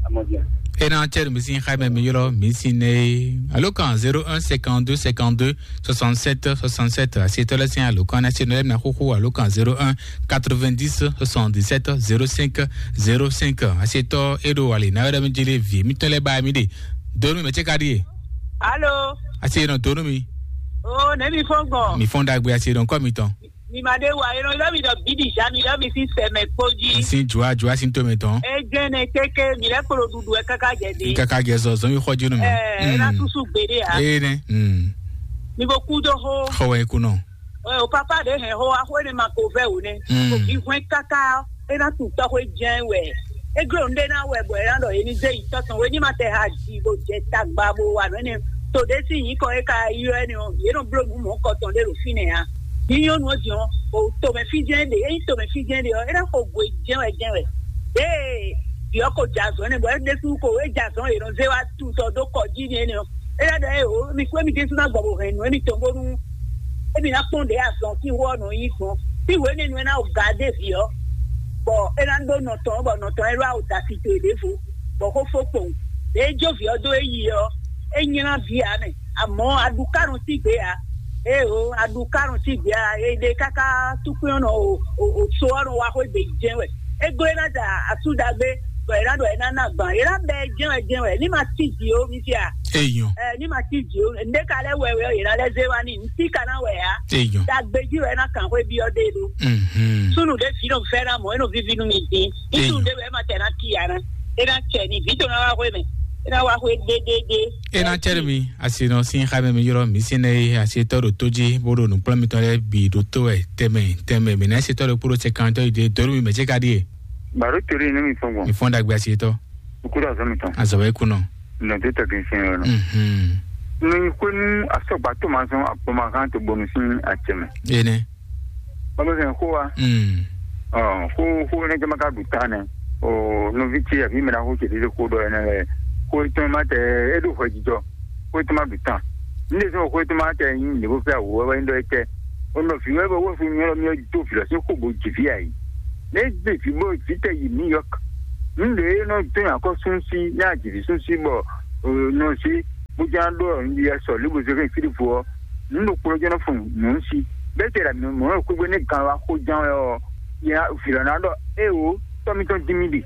Àmọ́ jẹ́. Ena cɛɖu mi sin xaimɛ mi ylɔ mi sin ne. Alo kan zéro un cinquante-deux cinquante-deux soixante-sept soixante-sept. Asi tɔlɛ sin alo kan nasi nɔlɛ na xuxu alo kan zéro un quatre-vingt-dix soixante-dix-sept zéro cinq zéro cinq. Asi tɔ eɖo wali na wɛrɛ mi jeli vi mi tɔlɛ ba mi de. Donu mi mɛ cɛ ka di ye. Alo. Asi nɔ donu mi. O ne mi fɔn gbɔn. Mi fɔn dagbe asi nɔ kɔ mi tɔn. Mi ma ɖe wa, e nɔ ylɔ́ mi ɖɔ bíɖi zǎ, mi ylɔ́ mi sín sɛmɛ kpó jí. Sín jua jua sín to mɛ tɔn. E jɛnɛ kéké, mi lɛ́ kplɔ ɖuɖu wɛ káká jɛ dé. Káká jɛ zɔ zɔn mi xɔ jinu mi. Ɛ ɛ na susu gbeɖe a. Ee nɛ. Mi ko kú dó xó. Xɔ wɛ kunɔ. Ɛ o papa ɖe hɛn xó wa xó ne ma ko vɛ o nɛ. Ko fi hwɛn káká, e na tun tɔxwé jɛn wɛ. E gló nu ɖé na wɛ bɔ e na ɖɔ e ní zé yi tɔtɔn wɛ ní ma tɛ ha ji bo jɛ tagba bo wa nɔ ne. To ɖé si nyǐkɔ e ka ylɔ́ ɛnɛ ɔ, yě nɔ bló nǔ mɔ̌kɔtɔn ɖé ɖo fínɛ́ ǎ. Nyí nyɔ́nu ɔ́ din ɔ́, o tomɛ fí jɛ́n ɖe, ényí tomɛ fí jɛ́n ɖe ɔ́, é ná xo gwe jɛ́n wɛ jɛ́n wɛ. Ée vǐ ɔ́ ko jɛ azɔ̌ nɛ, bɔ é ɖésú ko é jɛ azɔ̌ yě nɔ zé wá tutɔ dó kɔ jí n'i énɛ́ ɔ́, é ná ɖɔ ée o, mi kú émi ɖésú ná gbɔ bo hɛn nǔ émitɔn bónú émi ná kpɔ́n ɖě azɔ̌ sín xó ɔ́ nɔ nyí gbɔn. Fí hwenu e nú ɛ ná o ga dé vǐ ɔ́, bɔ é ná ɖó nɔ tɔn, bɔ nɔ tɔn é ɖó awo da si to e ɖěvo, bɔ xó fó kpowun. Ɖě é jó vǐ ɔ́ dó é yi ɔ́, é nylá vǐ ǎ mɛ. Amɔ̌, aɖukánu sín gbě ǎ. Ée o, aɖukánu sín gbě ǎ. E ɖe káká túkpín ɔ́ nɔ o, o, o so ɔ́ nɔ wá xwé gbe jɛ́n wɛ. É gló é ná da asú ɖagbe, bɔ è nǎ ɖɔ è nǎ ná gbǎn. È nǎ bɛ ɛ jɛ́n wɛ jɛ́n wɛ. Ní ma cí jǐ ó, mi fia. Eyɔn. Ɛ, ní ma cí jǐ ó. Ǹdé ka lɛ́ wɛ wɛ ɔ́, è nǎ lɛ́ zé wá n'i. Ntí ka ná wɛ ǎ. Eyɔn. Dagbe jí wɛ é ná kàn xwé byɔ́ ɖe ɖó. Mhm. Súnnu ɖé vǐ nɔ fɛ́ ná mɔ̌, é nɔ víví nú mi dín. Ní Eyɔn. Súnnu ɖé wɛ é ma tɛ ná cí ǎ ná. É ná cɛ ni vǐ tɔn ná wá xwé mɛ. É ná wá xwé ɖéɖéɖé. E na cɛɖe mi asi nɔ sin xa mɛ mi ylɔ mi sin ne asi tɔ ɖo to jí bó ɖo nukplɔ́n mitɔn lɛ bi ɖo to wɛ tɛmɛ tɛmɛ mi na asi tɔ ɖo kpó ɖo sɛ kan tɔ yi de dɔrú mi mɛ ce ka ɖi ye. Baro tori ne mi fɔn gbɔn. Mi fɔn dagbe asi tɔ. Ukú ɖo azɔ mi tɔn. Azɔ wɛ kunɔ. Nɔ to tɛ kɛ sin yɔ nɔ. Mhm. Nɔ yi xwenu asɔgba to ma zɔn akpɔma kan to bonu sin atɛmɛ. Ene. Bɔbɔ fɛn xó wa. Mm. Ɔ, xó xó ne jama ka ɖu ta nɛ. O nɔvi ce afi mɛ na xó ce ɖe xó ɖɔ ɛnɛ lɛ. Xó etɔn ma tɛ e ɖo hwɛ jijɔ. Xó etɔn ma ɖu ta. N de sɔ xó etɔn ma tɛ nyi ne ko fɛ awu wɛ wɛ ɖɔ etɛ. O nɔ fi wɛ bɛ wo fi nyɔ mi do fi lɔ si xó bo ji fi ayi. Ne de fi bo fi tɛ yi New York. N de e nɔ tɔn akɔ sun si ne a ji fi sun si bɔ o nɔ si bo jan ɖo n di sɔ libo zeke fi fo ɔ. Nǔ ɖokpó jɛ́n nɔ fun nǔ si. Bɛ́tɛ́ ɖo mǐ mɔ̌ xwégbé nú gan wá xó ján wɛ ɔ́, nyɛ vǐ lɔ ná ɖɔ: "Éeǒ, tɔ́ mitɔn dín mì ɖi."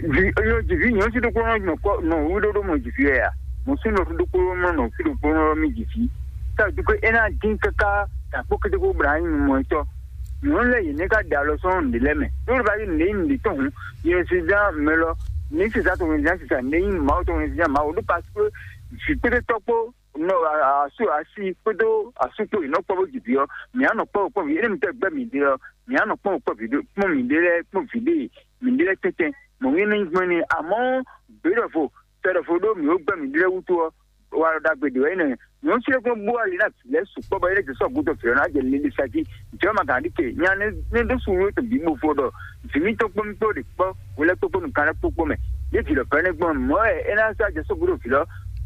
Vǐ yɔ jǐví nyɔ̌nu sí ɖokpó nɔ nɔ kɔ nɔ wú ɖó ɖó mɔ jǐví wɛ a? Mɔ̌ sú nɔ ɖokpó nɔ nɔ fí ɖokpó nɔ mì jǐví. Tá a dúpé é ná dín káká ɖo akpó kétékó bla nyí mɔ tɔ́. Nyɔ̌nu lɛ́ɛ yě nɛ́ ká ɖe alɔ sɔ́ nǔɖé lɛ́ɛ mɛ. Ɖó ló bá yí nǔɖé nyí nǔɖé tɔn hǔn, yě nɔ sisa mɛ lɔ, ní sisa tɔn hǔn, ní sisa nǔɖé nyí Mawu tɔn hǔn, ní sisa Mawu ɖó parce que vǐ kpéɖé tɔ́ kpó nɔ asu asi kpódó asu kpó yě nɔ kpɔ́ bó ji vǐ ɔ́, mǐ á nɔ kpɔ́ kpɔ́ vǐ énɛ́ mi tɛ́ gbɛ́ mǐ ɖe ɔ́, mǐ á nɔ kpɔ́ kpɔ́ vǐ ɖé kpɔ́ mǐ ɖé lɛ́ɛ kpɔ́ vǐ ɖé mǐ ɖé lɛ́ɛ tɛ́ntɛn. Mɔ̌ nyí ní gbɛ́ ni amɔ̌ gběɖɔvo tɛɖɔvo ɖó mǐ ó gbɛ́ mǐ ɖé lɛ́ɛ wútu ɔ́, wa ɖɔ ɖagbe ɖě wɛ nyí nɛ́. Nyɔ̌nu ce kpɔ́n bó ali ná vǐ lɛ́ɛ sukpɔ́ bɔ é lɛ́ jɛ sɔ́ gǔdo vǐ ɔ́ ná jɛ lili sa jí. Jɔ̌ ma gǎn ɖi ce nya nɛ́ ɖó su wútu bǐ bo fo ɖɔ vǐ mítɔn kpó mì kpó ɖe kpɔ́, hwelɛ́kpó kpó nǔkanlɛ́kpó kpó mɛ. Yě vǐ lɔ fɛ́nɛ gbɔn mɔ̌ wɛ é ná sɔ́ ajɔ sóbúɖo vǐ lɔ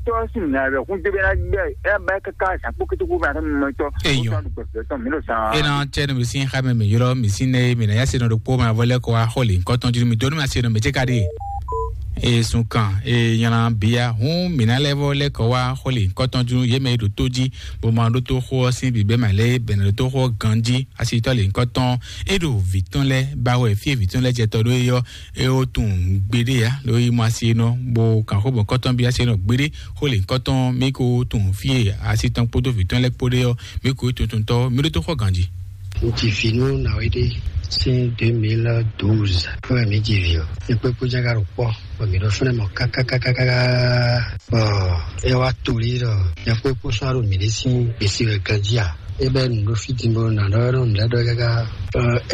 tɔ́ sín nǔ ná wɛ hún dé bɛ ná gbɛ é ná ba ɛ káká zǎn kpó kété kpó bɛ́ ná tɔ́ mímɔ tɔ́. Eyɔn. Ó tɔ́ ɖo gbɛ̀fẹ́ tɔn mǐ ɖo zan. E na cɛ nu bisi xa mɛ mi ylɔ mi si ne mi na ya se nɔ ɖo kpó ma vɔ lɛ kɔ wa xɔ le nkɔ tɔn jinu mi donu ma se nɔ mɛ ce ka ɖe. E sun kan e nyana bia hun mi na lɛ vɔ lɛ kɔ wa xɔ le nkɔ tɔn jinu ye mɛ e ɖo to ji bo ma ɖo to xɔ si bi bɛ ma lɛ bɛ na ɖo to xɔ ganji. Asitɔ le nkɔ tɔn e ɖo vi tɔn lɛ ba wɛ fie vi tɔn lɛ jɛ tɔ ɖo eyɔ. E o tun gbeɖe ya ɖo yi mɔ asi nɔ bo kan xo bɔ kɔtɔn bi asi nɔ gbeɖe xo le kɔtɔn mi ko tun fie asi tɔn kpódó vi tɔn lɛ kpóɖe ɔ mi ko tuntun tɔ mi ɖo to xɔ ganji. Ŋutsi fi nú nàwé ɖé sín deux mille douze fún mi ji vi ɔ. Ekpé kpó jága ɖo kpɔ bɔ mi ɖo fúnɛ mɔ kákákákáká bɔ e wa to li ɖɔ ekpé kpó sɔ́ ɖo mi ɖé sín gbèsè wɛ ganji a. Ebe nu ɖo fiti bo na ɖɔ ɖo nɖɛ ɖɔ kaka.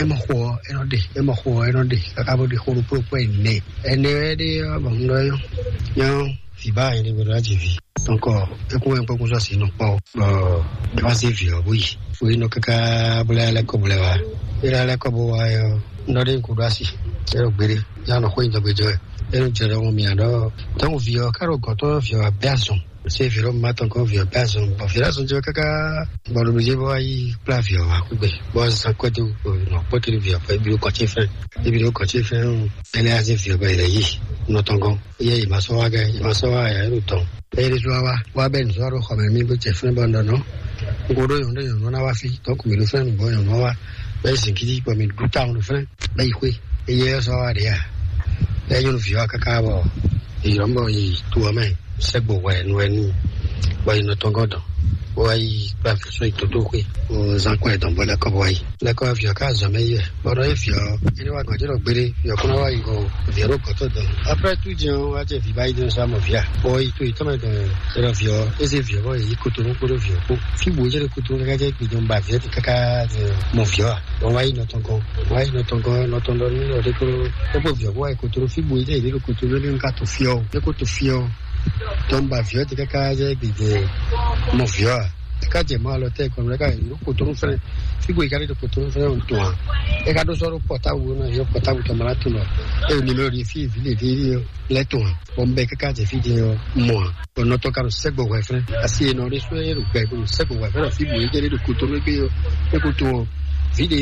Ema xɔ eno ɖe ema xɔ eno ɖe kaka bo ɖe xɔ ɖo kpokpo ene ene wɛ ɖe bɔ ŋdɔ yɔ nyɔ viba ene bo ɖo adzi vi. Donc ekun wɛ kpokpo sɔ si nɔ kpɔ bɔ ema se vi ɔ bo yi bo yi nɔ kaka bo lɛ lɛ kɔ bo lɛ wa ela lɛ kɔ bo wa yɔ ŋdɔ ɖe ko ɖo asi eno gbeɖe ya nɔ xɔ yi dɔgbe jɔ eno jɛ ɖɔ mo mia ɖɔ donc vi ɔ karo gɔtɔ vi ɔ abɛ azɔn. Se viro ma tɔn ko vio pɛ azɔn bɔ viro azɔn jɔ kaka bɔ lobije bɔ ayi kpla vio wa kugbe bɔ zan kɔdu nɔ kpɔtiri vio pɛ bi o kɔtsi fɛn ebi o kɔtsi fɛn o ɛnɛ azi vio bɛ yɛrɛ yi nɔ tɔn gɔ́n. Yɛ yě ma sɔ́ wá gɛ́, yě ma sɔ́ wá yǎ ɖo tɔn. Eye ɖésú wá wá, wá bɛ́ nǔ sɔ́ ɖo xɔ mɛ mì bó jɛ fínɛ́ bɔ un ɖɔ nɔ́. Un ko ɖó nyɔ̌nu ɖé nyɔ̌nu ná wá fí, donc mǐ ɖo fínɛ́ nǔgbó nyɔ̌nu ɔ́ wá, bɛ́ yi zǐngídi bɔ mǐ ɖu tawun ɖo fínɛ́, bɛ́ yi xwé. Eye ɔ́ sɔ́ wá ɖě a? Bɛ́ nyɔ́núví ɔ́ káká bɔ è ylɔ́ bɔ yi to ɔ́ mɛ, sɛ́gbo hwɛ nú wɛ n'i, bɔ yi nɔ tɔn gɔ́ dɔn, bó wá yi kplá vǐ sɔ́ yi tótóxwé, bó zán kɔn ɛ dɔn bó lɛ́ kɔ bó wá yi. Lɛ́ kɔ vǐ ɔ́ ká zɔn mɛ yi wɛ, bɔ nɔ é vǐ ɔ́, é ní wá gɔ̌ jɛ ɖɔ gbére, vǐ ɔ́ kún ná wá yi go, vǐ ɔ́ ɖo gɔ̌ tɔn dɔn. Après tout jɛ́n ɔ́, wá jɛ vǐ ba yi dɔn sɔ́ amɔ vǐ a? Bɔ yi to yi tɔn mɛ dɔn, é ɖɔ vǐ ɔ́, é zé vǐ ɔ́ bɔ yě yi kotonu kpódó vǐ ɔ́ kpó. Fí bǔ é jɛ ɖo kotonu káká jɛ gbe dɔn ba vǐ ɔ́ ti káká mɔ vǐ ɔ́ a? Bɔ wá yi nɔ tɔn gɔ́n, wá yi nɔ tɔn gɔ́n, nɔ tɔn ɖɔ nú nɔ ɖé kó, é kpó vǐ ɔ́ kó wá yi kotonu. Fí bǔ é jɛ yě ɖo kotonu, é ɖo ká to fí ɔ́, é kó to fí ɔ́. Tɔn ba vǐ ɔ́ ti káká jɛ gbe jɛ mɔ vǐ ɔ́ a? É ká jɛ mɔ alɔ tɛ́ kɔn, é ká yi ɖo kotonu fɛnɛ. Fí bǔ é ká ɖo kotonu fɛnɛ ɔ́ tɔn a? É ká ɖó sɔ́ ɖó pɔtábu ná yɔ pɔtábu tɔn mɛ ná tunɔ. É ɖo nimero ɖi fí vǐ ɖě ɖě lɛ́ tɔn a? Bɔ un bɛ káká jɛ fí din ɔ́, un mɔ ǎ. Bɔ nɔ tɔn ka ɖo sɛ́gbɔ hwɛ fɛ́n. Asi e nɔ ɖé sɔ́ é ɖo gbɛ bó ɖo sɛ́gbɔ hwɛ fɛ́n ɖo fí bǔ é jɛ ɖé ɖo kotonu égbé ɔ́, é ko to ɔ́. Vǐ ɖě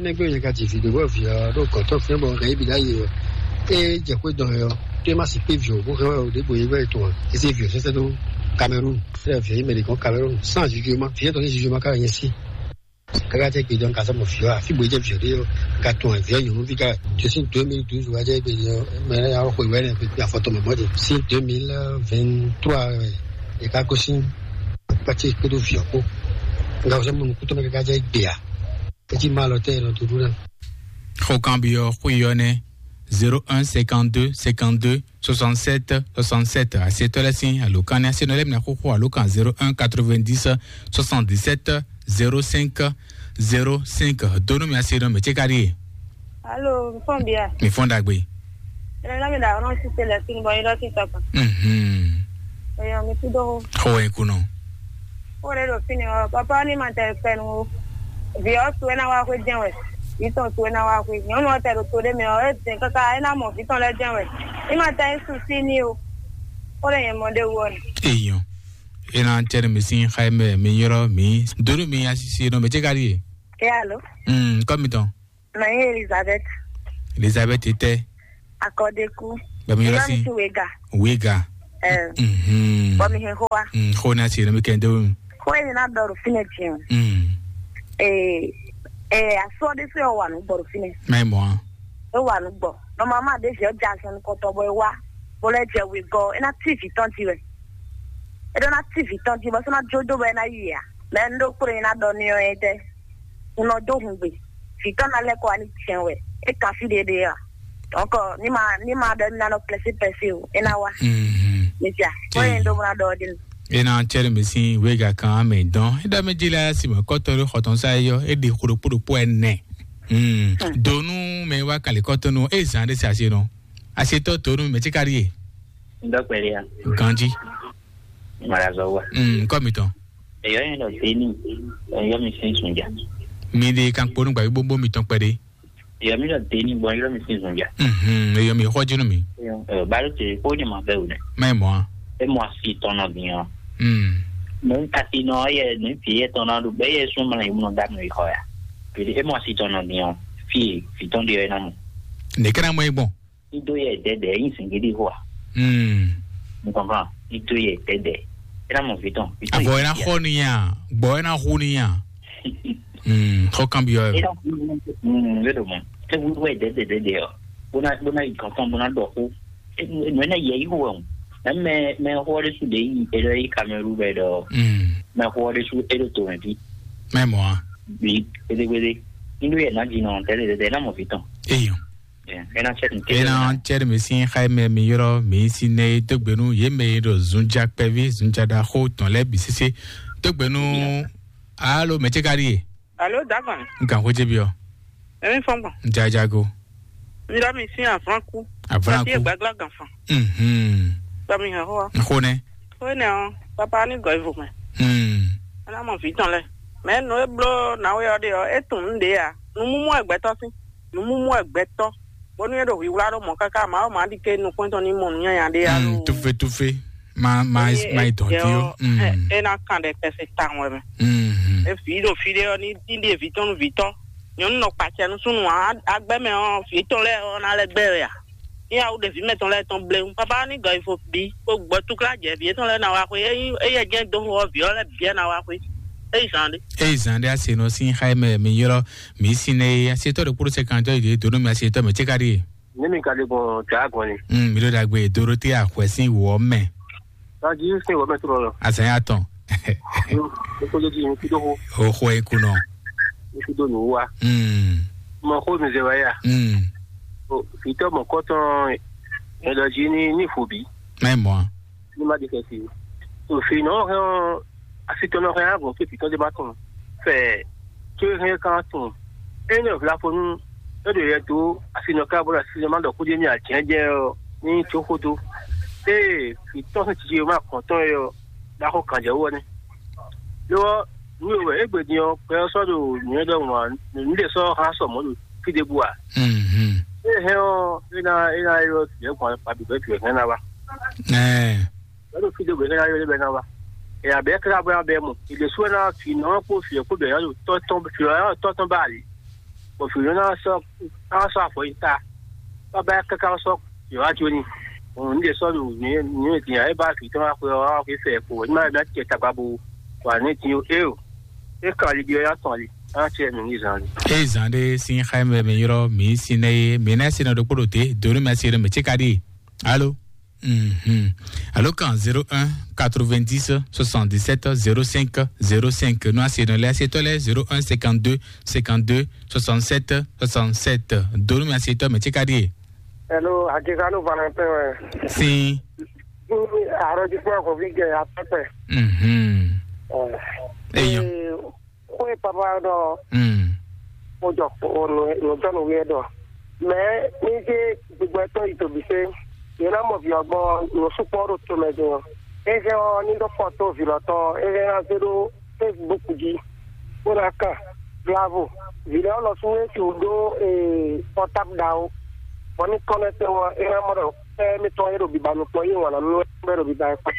nɛ́ gbé nyɛ ka ji vǐ ɖé bɔ vǐ ɔ́ ɖo gɔ̌n tɔn fɛ́n bɔ hɛn yě bǐ ɖ'ayǐ ɔ́, é jɛ xwé dɔn ɛ ɔ́, ɖé má sixú vǐ ɔ́ bó hɛn wɛ ɔ ɖěbǔ é wɛ tɔn ǎ. É zé vǐ ɔ́ sɛ́sɛ́ dó Kamerun. Sɛ́ vǐ ɔ́ yi mɛ ɖě gɔ́n Kamerun. Sans jujuma, vǐ ɔ́ tɔn sín jujuma ka wɛ nyɛ sí. Kaka tɛ gbe dɔn ka sɔmɔ fiɔ a? Fi bo jɛ fiɔ ɖe yo. Ka tɔn fiɔ nyɔnu fi ka. Jesu deux mille douze wa jɛ gbe yo. Mɛ ya xwe wɛ ne fi afɔtɔ mɛ mɔdi. Si deux mille vingt-trois wɛ. E ka ko sin. Pati kpedo fiɔ ko. Nga sɔmɔ nu kuto mɛ kaka jɛ gbe a. Eti ma lɔ tɛ no tudu na. Xo kan bi ɔ xo yi ɔ nɛ. Zéro un cinquante-deux cinquante-deux soixante-sept soixante-sept. Asetɔ lɛ sin alo kan ne asenɔ lɛ mina xo xo alo kan zéro un quatre-vingt-dix soixante-dix-sept zéro cinq zéro cinq. Donu mi asenɔ mɛ ce ka ɖie. Alo, mi fɔn bia. Mi fɔn dagbe. Ene na mi da ɔnɔ si se lɛ sin bɔ yi lɔ si tɔkpa. Mhm. Eyo mi tu do. Xo e kunɔ. Xo ɖe ɖo fini ɔ, papa ni ma tɛ fɛnu o. Vi ɔ tu ena wa xwe jɛn wɛ. Vi tɔn tu ena wa xwe. Nyɔnu ɔ tɛ ɖo to ɖe mɛ ɔ, e dɛn kaka ena mɔ vi tɔn lɛ jɛn wɛ. Ni ma tɛ su si ni o. Xo ɖe nyɛ mɔ ɖe wu ɔ ni. Eyo. Ena tɛ mi sin xaye mɛ mi yɔrɔ mi. Donu mi asisi nɔ mɛ ce ka ɖie. E alo. Mm, kɔ mi tɔn. Mɛ nyí Elizabeth. Elizabeth tɛ. Akɔdeku. Bɛ mi yɔrɔ si. Wega. Wega. Eh. Mhm. Bɔ mi hɛn xó wa. Mm, xó na si, na mi kɛ ndé wun. Xó yìí na dɔrɔ fínɛ tiɲɛ. Mm. Eh, eh, asɔ de se wa nu gbɔ fínɛ. Mɛ mɔ. E wa nu gbɔ. Normalement de je ja sɔn kɔtɔ bɔ e wa. Bo lɛ jɛ wegɔ, e na ti vi tɔn ti wɛ. E ɖo na ti vi tɔn ti bɔ sɔ na jo do bɔ e na yi ya. Mɛ n ɖo kplɔ́n ná ɖɔ n'i ɔ́ é tɛ́? Un nɔ dó hungbe. Vǐ tɔn ná lɛ́ kɔ wá ní jɛ́n wɛ. É kan fí ɖéɖé a? Donc, ní ma ní ma ɖɔ ní ná nɔ plɛsí pɛsí o, é ná wá. Mhm. Misia, bó yẹn ɖó bó ná ɖɔ ɔ́ ɖe nu. E na cɛ ɖe mɛ sin wega kan amɛ dɔn. E ɖɔ mɛ dzi la si mɛ kɔtɔ ɖe xɔtɔn sa yɔ. E ɖe xo ɖokpo ɖokpo ɛnɛ. Mm. Donu mɛ wa kali kɔtɔnu e zan ɖe si asi nɔ. Asi tɔ donu mɛ tsi kari ye. N dɔ kpɛɖe ya. Ganji. Mara zɔ wa. Mm, kɔ mi tɔn. Eyɔ yẹn dɔ deni. Eyɔ mi sin sunja. Mi de kan kponu gba gbogbo mi tɔn kpɛɖe. Eyɔ mi dɔ deni bɔ eyɔ mi sin sunja. Mhm, eyɔ mi xɔ jinu mi. Eyɔ, balo te ko ne ma bɛ o ne. Mai mɔ. E mɔ asi tɔn nɔ bi yan. Mm. Mo kasi nɔ ye ne fi ye tɔn na do be ye sun ma ye mo da no ikɔ ya. Bi e mɔ asi tɔn nɔ bi yan. Fi fi tɔn de ye na mo. Ne kana mo e gbɔn. Ido yɛ dɛdɛ yin singidi hoa. Hmm. Mo comprend. Ido yɛ dɛdɛ. Ena mo viton. Avɔ ena xɔ ni ya. Gbɔ ena xu ni ya. Hmm. Xɔ kan bi yɔ. Ena. Hmm. Vedo mo. Te wu wɛ dɛdɛ dɛdɛ yɔ. Bona bona ikankan bona dɔ ko. Enu ena yɛ yi hoa. Mɛ mɛ xɔ de su de yi. Edo yi Cameroun bɛ dɔ. Hmm. Mɛ xɔ de su edo to mɛ bi. Mɛ mɔ a. Bi. Gbede gbede. Ido yɛ na di nɔ tɛdɛ dɛdɛ ena mo viton. Eyo. Ena cɛɖi mi sin xa mɛ mi yɔrɔ mi si nɛ dogbe nu ye mɛ yi ɖo zunja kpɛvi zunja ɖaxo tɔn lɛ bi sese dogbe nu. Alo mɛ ce ka ɖi ye. Alo dagan. N kan xo ce bi ɔ. Emi fɔn gbɔn. Jajago. N dɔ mi sin avlanku. Avlanku. Ati gbagla gan fan. Mhm. Dɔ mi hɛn xo. Xo nɛ. Xo nɛ ɔ papa ni gɔ ivo mɛ. Hmm. Ena mɔ vi tɔn lɛ. Mɛ nu e blo na we ɔ de ɔ e tun nu de ya. Nu mumu wɛ gbɛtɔ sin. Numumu wɛ gbɛtɔ bónú é ɖo hwíwlá ɖó mɔ̌ káká Mawu má ɖi ké nukúntɔn ní mɔ nǔnyanya ɖé alo. Mm, tufe tufe. Ma ma ma yi dɔn tí ó. Mm. É ná kan ɖɛ kɛse tawun wɛ mɛ. Mm. E vǐ ɖo fí ɖé ɔ́ ní ní ɖe vǐ tɔn nú vǐ tɔn. Nyɔ̌nu nɔ kpacɛ nú súnnu ǎ agbɛ́ mɛ ɔ́ vǐ tɔn lɛ́ɛ ɔ́ ná lɛ́ gbɛ́ wɛ a? ní awu ɖevi mɛtɔn lɛ́ɛ tɔn bléwún. Papa ní gɔyifo bí kó gbɔ túklá jɛ vǐ étɔn lɛ́ɛ ná wá xwé. Ényí éyɛ jɛ́n dó xó ɔ́, vǐ ɔ́ lɛ́ɛ bǐ ná wá xwé. É yi zan ɖé. Eye zan ɖé ase nɔ sín xá mɛ mi ylɔ́ mi sín nɛ ye asetɔ ɖe kpóɖó sɛkantɔ yi ɖe dó nú mi asetɔ mɛ tse ka ɖi ye. Ní mi ka ɖe gbɔn dǎ gbɔn ni. Mm, mi ɖo ɖagbe Dorothée axwɛ sín wɔ mɛ. Adi sín wɔ mɛ tó lɔ. Azan ya tɔn. Ní kó lé di ní kúdó xó. O xɔ e kunɔ. Ní kúdó nù wá. Mm. Mɔ xó mi zɛ wá yá. Mm. Vitɔ mɔ kɔtɔn ɛlɔji ní ní fòbí. Mɛ mɔ. Ní má di kɛ si. Òfin nɔ hɛn ɔ asitɔ nɔ hɛn agɔn fí fitɔ de ba tɔn. Fɛ tó hɛn kan tɔn. Ene vlafonu e ɖo yɛ dó asinɔ ká bɔ asinɔ ma ɖɔ kúdé ní ajɛjɛ ɔ ní tso xódó. Eye fitɔ sín titi ma kɔn tɔn yɔ ɖaxó kan jɛ wɔ nɛ. Lɔ nu wɛ egbe din ɔ pɛ ɔ sɔ ɖo nyɛ ɖɔ ŋua nu ɖe sɔ ha sɔ mɔ ɖo fi ɖe bu a. Mhm. E hɛn ɔ e na e na yɔ tiɛ kɔn pa bi bɛ tiɛ hɛn na wa. Ɛɛ. Bɛ ɖo fi ɖe bu hɛn na yɔ bɛ na wa. E abɛ kla bɛ abɛ mɔ e ɖe su na fi nɔ kpo fi kpo bɛ yɔ tɔ tɔn fi yɔ tɔ tɔn ba ali. Bɔ fi nɔ na sɔ na sɔ afɔ yi ta. Baba kaka sɔ yɔ wa jo ni. N de sɔ ɖo nyɛ nyɛ din e ba fi tɔn wa xwe wa xwe fɛ ko ni ma na tiɛ tagba bo wa ne din o e o. E ka li bi ya tɔn li. An tiɛ mi ni zan li. Eye zan ɖe sín xá mɛ mi ylɔ́ mi sín nɛ ye mi ná sinɔ ɖokpó ɖo te donu mi asi ɖo mi tse ka ɖi. Alo. Mhm. Alo kan zéro un quatre-vingt-dix soixante-dix-sept zéro cinq zéro cinq. Nɔ asi nɔ lɛ asi tɔ lɛ zéro un cinquante-deux cinquante-deux soixante-sept soixante-sept. Donu mi asi tɔ mi tse ka ɖi ye. Hello, Akisanu Valentin wɛ. Sin. Arrondissement Hovigɛ atɔkpɛ. Mhm. Eyɔ. Xwe papa ɖɔ. Mm. Mo jɔ nùjɔnùwí ɛ ɖɔ. Mɛ ní ṣe gbogbo ẹtọ́ yìí tòbí ṣe. Yẹn náà mọ̀ fi ọgbọ́n lọ súpọ̀ ɖo tó mɛ jọ. Eze ɔ ní ɖɔ fɔto vǐ lɔ tɔn eze ná zé ɖó Facebook jí. Ó ná kàn bravo. Vǐ lɛ ɔ lɔ sún é ti wò ɖó portable ɖa o. Bɔ ní kɔnɛtɛ wɔ é ná mɔ ɖɔ ɛ mi tɔn é ɖo biba nukpɔn yé wàn nú ɛ ɖo biba ɛ kpɔn.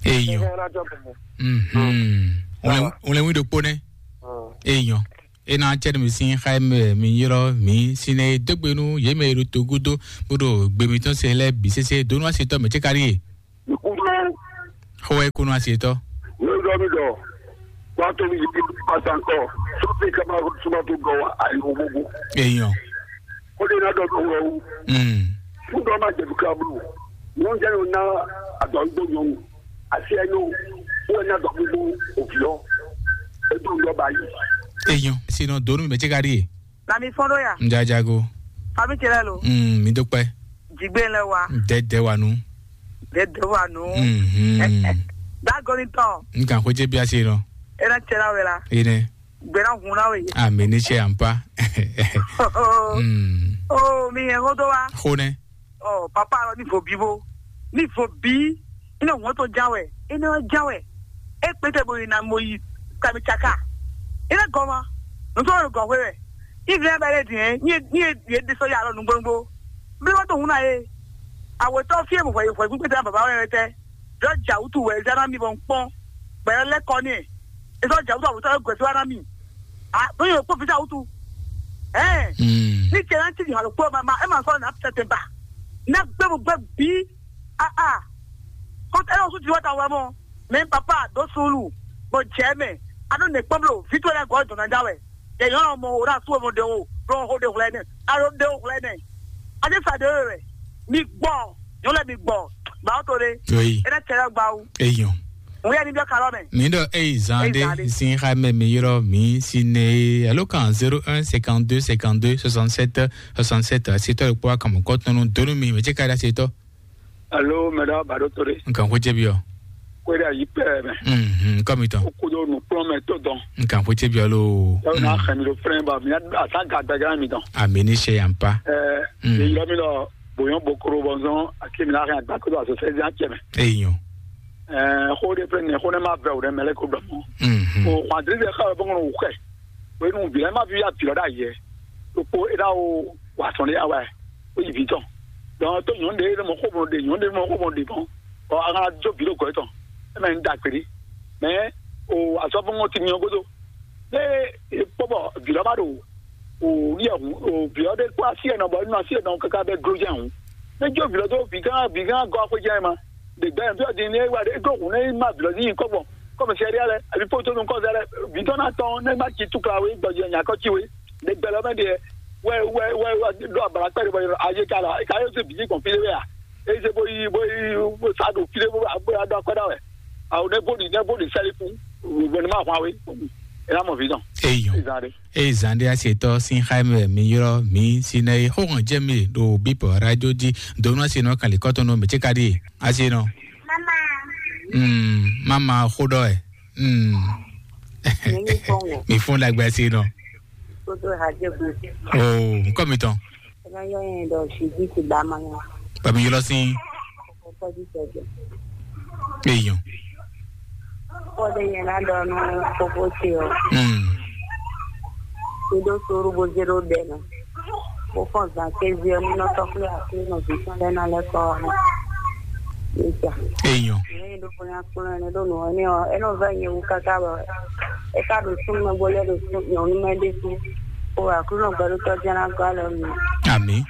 Eyɔ. Eze ná jɔ bɛ̀rẹ̀. Mhm. Wlɛn wlɛn wí ɖokpó nɛ. Eyɔ. Ena cɛ mi sin xa mɛ mi yrɔ mi sinɛ dogbe nu ye mɛ ro to gudo bodo gbe mi tɔn se lɛ bi sese donu asetɔ mɛ tse kari ye. Xɔ wɛ kunu asetɔ. Ní ọjọ́ mi dọ̀, wá tó mi yìí pàṣẹ nǹkan, sọ́tì ká máa súnmọ́ tó gan wa àyẹ̀wò gbogbo. Eyàn. Ó lè ná dọ̀dọ̀ wọ̀ o. Mm. Fún dọ́ máa jẹ̀bi ká bù. Wọ́n jẹ́ yóò ná àdọ̀ gbó yòówù. Àti ẹnu, wọ́n ná dọ̀ gbogbo òbí lọ. Ètò ìjọba yìí. Eyàn. Sinɔ donu mɛ tse kari ye. Na mi fɔn ɖo ya. N jajago. Fami tse lɛ lo. Mm, mi dúpẹ́. Jigbe lɛ wa. Dɛdɛ wa nu. Dɛdɛ wa nu. Mhm. Dagoni tɔn. N kan xwedze bi ase nɔ. Ena tse la wɛ la. Ene. Gbɛna hun na we. Ami ni se ampa. Mm. Oh, mi yɛ hodo wa. Xonɛ. Ɔ papa lɔ ní vo bí bó ní vo bí ní hɔn tó jáwɛ é ní wá jáwɛ é pété bo yi na mo yi kami tsaka é ní gɔn ma nùtú wọn gɔn xwé wɛ ní ìdílé bá yẹ dìé ní ní yẹ dé sọ yà lọ nùgbòǹgbò bí wọn tó hun náà yé àwòtọ́ fí èmù fọyín fọyín pípé tẹ́lá bàbá wọn yẹn tẹ́ jọ jà wútu wẹ̀ ẹ̀ zẹ́ náà mi bọ̀ ń pọ́n gbẹ̀rẹ́ lẹ́kọ̀ọ́ ní ẹ̀ ẹ̀ sọ jà wútu àwòtọ́ ẹ̀ gọ̀ẹ́sì wá náà mi ah bóyá o kpó fi sá wútu ẹ̀ ní tiẹ̀ náà ti di hàn lóko ẹ̀ máa ẹ̀ máa sọ ẹ̀ náà tẹ̀tẹ̀ bá ní agbẹ́mu gbẹ́ bí ah ah kó ẹ̀ lọ́sùn ti wá ta wá mọ́ mɛ papa dó sulu bɔ jɛ mɛ anu ne kpɔmlo fitɔ lɛ gɔ dɔnna da wɛ yɛ yɔn mɔ o na su mo de o lɔ ho de wlɛ ne alo de o wlɛ ne ade sa de wɛ mi gbɔ yɔn lɛ mi gbɔ ba o to de Oui. Ena tɛ lɛ gba o Eyɔn. Ŋu yɛ ni biɔ kalɔ mɛ. Mi ɖɔ eyi zan Eyi zan ɖe ɖe. Sin xa mɛ mi yrɔ mi si ne alo kan zéro un cinquante-deux cinquante-deux soixante-sept soixante-sept asetɔ ɖe kpɔ akamɔ kɔtɔnu donu mi mɛ tse ka ɖe asetɔ. Alo, mɛɖa baɖo to ɖe. Nkan xwedze bi ɔ. Kweda yi pɛ mɛ. Mhm, kɔ mi tɔn. Kodo nukplɔn mɛ to dɔn. Nkan xwedze bi ɔ lo. Yɔ na xɛ mi ɖo flɛn ba mi asa ga gbɛgã mi dɔn. Ami ni se yan pa. Ɛɛ, Mm. Ye yɔ mi lɔ boyɔn bokoro bɔnzɔn ake mi na xɛ agba kodo aso sɛzi acɛ mɛ. Eyi nyɔ. Ɛɛ, xo de flɛn ne xo ne ma vɛ o ɖe mɛ lɛ ko dɔn. Mhm. O xɔn adiri de xa bɔngɔn o xɛ. O enu bi lɛ ma bi ya bi lɔ da yɛ. O kpo e da o wa sɔn de awa. O yi bi tɔn. Donc to nyɔnu de ne mɔ xo mɔ de nyɔnu de mɔ xo mɔ de mɔ. Ɔ a kana jo bi ɖo gɔ etɔn. E mɛ n da kpe ɖi. Mɛ o azɔfɔngɔ ti nyɔ godo. Ne e kpɔ bɔ vi lɔ ba ɖo o ni ɛhun o vi ɔ ɖe kpɔ asi ɛnɔ bɔ e nɔ asi ɛnɔ kaka bɛ dlo jɛ ɛhun. Ne jó vǐ lɔ dó vǐ gán vǐ gán gɔ́ xwé jɛ́n ma. Ɖe gbɛ ntɔ́ din ne wá ɖe gó hǔn ne ma vǐ lɔ ní nyí kɔ́gbɔn kɔmɛsɛri lɛ, abi fóto nú kɔ́zɛ lɛ, vǐ tɔn ná tɔn ne ma ci túkla wé gbɔjɛ nyakɔ ci wé. Ɖe gbɛ lɔ mɛ ɖe wɛ wɛ wɛ wɛ ɖo abala kpɛ ɖe bɔ ayé ka la ka yóò se bǐ gbɔn fí ɖé wɛ a? Eze bó yi bó yi bó sa ɖo fí ɖé bó bó ya ɖɔ akɔ́ ɖa wɛ. Awo ne bó ɖi ne bó ɖi sɛli fún wɛ ne ma hwan wé. E na mɔ vǐ tɔn. Eyɔn. Ezan ɖe. Eye zan ɖé asetɔ sín xá mɛ mi ylɔ́ mǐ Sinɛyi xóxɔn jɛ mi ɖo bípɔ radio jí donu asenɔ kan lǐkɔtɔn nɔ mɛ cé ka ɖíe asenɔ. Mm, mama xó ɖɔ ɛ. Mm. Mi fún ɖagbe asenɔ. Kótó hajɛ gbé. O nkɔ mi tɔn. Ẹ máa yọ yẹn dọ̀ ṣì bí ti bá máa yọ. Bàbá mi ylɔ́ sín. Ọkọ jíjẹ jẹ. Eyɔn. Kódé yẹn ná dɔ nú kókó ce ɔ. Mm. Kí ló sórú bó zé ló dɛ nɔ. Bó fɔn zan kézé ɔ nínú tɔkúlẹ̀ àkúrẹ́ nɔ bí sán lẹ́nà lẹ́kọ̀ọ́ ɔ́. Nígbà. Eyɔn. Lẹ́yìn ló fún yá kúrò ẹni ló nù ọ́ ní ọ ẹni ò fẹ́ yẹn wú káká bọ̀. Ẹ ká ɖo súnmọ́ bó lẹ́ ɖo sún nyɔ̌nú mɛ ɖé sú. Kó àkúrò gbɛdútọ́ jẹ́ ná gɔ́ alɔ mi. Àmì.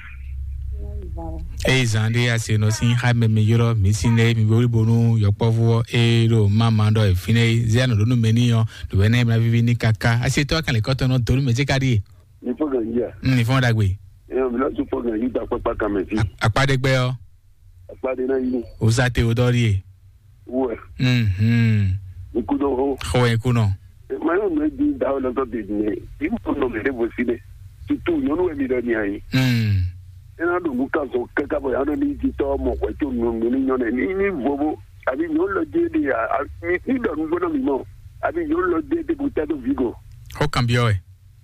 Eye zan ɖé asenɔ sín xá mɛ mi ylɔ́ mǐ sín lɛ́ɛ mi wlí bónú yɔkpɔ́vú ɔ́ e ɖo mama ɖɔ e fínɛ́ é zé anɔ ɖó nú mɛ n'i ɔ́ ɖo ɛnɛ mla víví ní káká asetɔ kan lě kɔtɔn nɔ donu mɛ cé ka ɖíe. Ní fɔ gàn yí a? Ní fɔ ɖagbe. Ẹ ɔ bìlá tún fọ gàn yí ta kpákpá kan mɛ sí. Akpa ɖe gbɛ ɔ́. Akpa ɖe ná yí. O sa te o dɔ ɖíe. Wɛ. Mhm. Ikú dɔ hó. Xɔ ikú nɔ. Mayɔ mɛ di da o lɔtɔ de ne. Imu nɔ mɛ ɖe bo si ɖe. Tutu nyɔnu wɛ mi ɖɔ ni ayi. Mm. Ena ɖo nu kan sɔ kaka bɔ ya ɖo ni ti tɔ mɔ hwɛ tso nunu ni nyɔ nɛ ni ni vovo. Abi nyɔnu lɔ di de a a mi ti ɖɔ nu gbɔdɔ mi mɔ. Abi nyɔnu lɔ di de bo tɛ do vi go. Xɔ kan biɔ ɛ.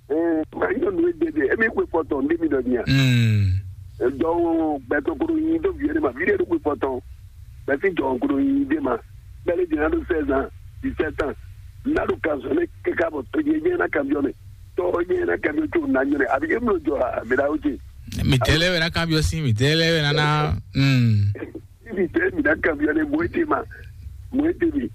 Ɛɛ ma nyɔnu e de de emi kpe kpɔtɔ nde mi ɖɔ ni a. Mm. Dɔwɔ gbɛtɔ koɖo nyi do vi ɖe ma vi ɖe ɖo kpe kpɔtɔ. Bɛsi jɔ koɖo nyi de ma. Bɛlɛ jɛ na ɖo seize ans, dix-sept ans. Na ɖo kan sɔ ne kaka bɔ to jɛ jɛ na kan biɔ ne. Tɔ nyɛ na kan biɔ tso na nyɔ ne abi e mlo jɔ a mi da o ce. Mi tɛ lɛ wɛ na kan biɔ si mi tɛ lɛ wɛ na na. Mm. Ibi tɛ mi na kan biɔ ne mo ete ma. Mo ete mi.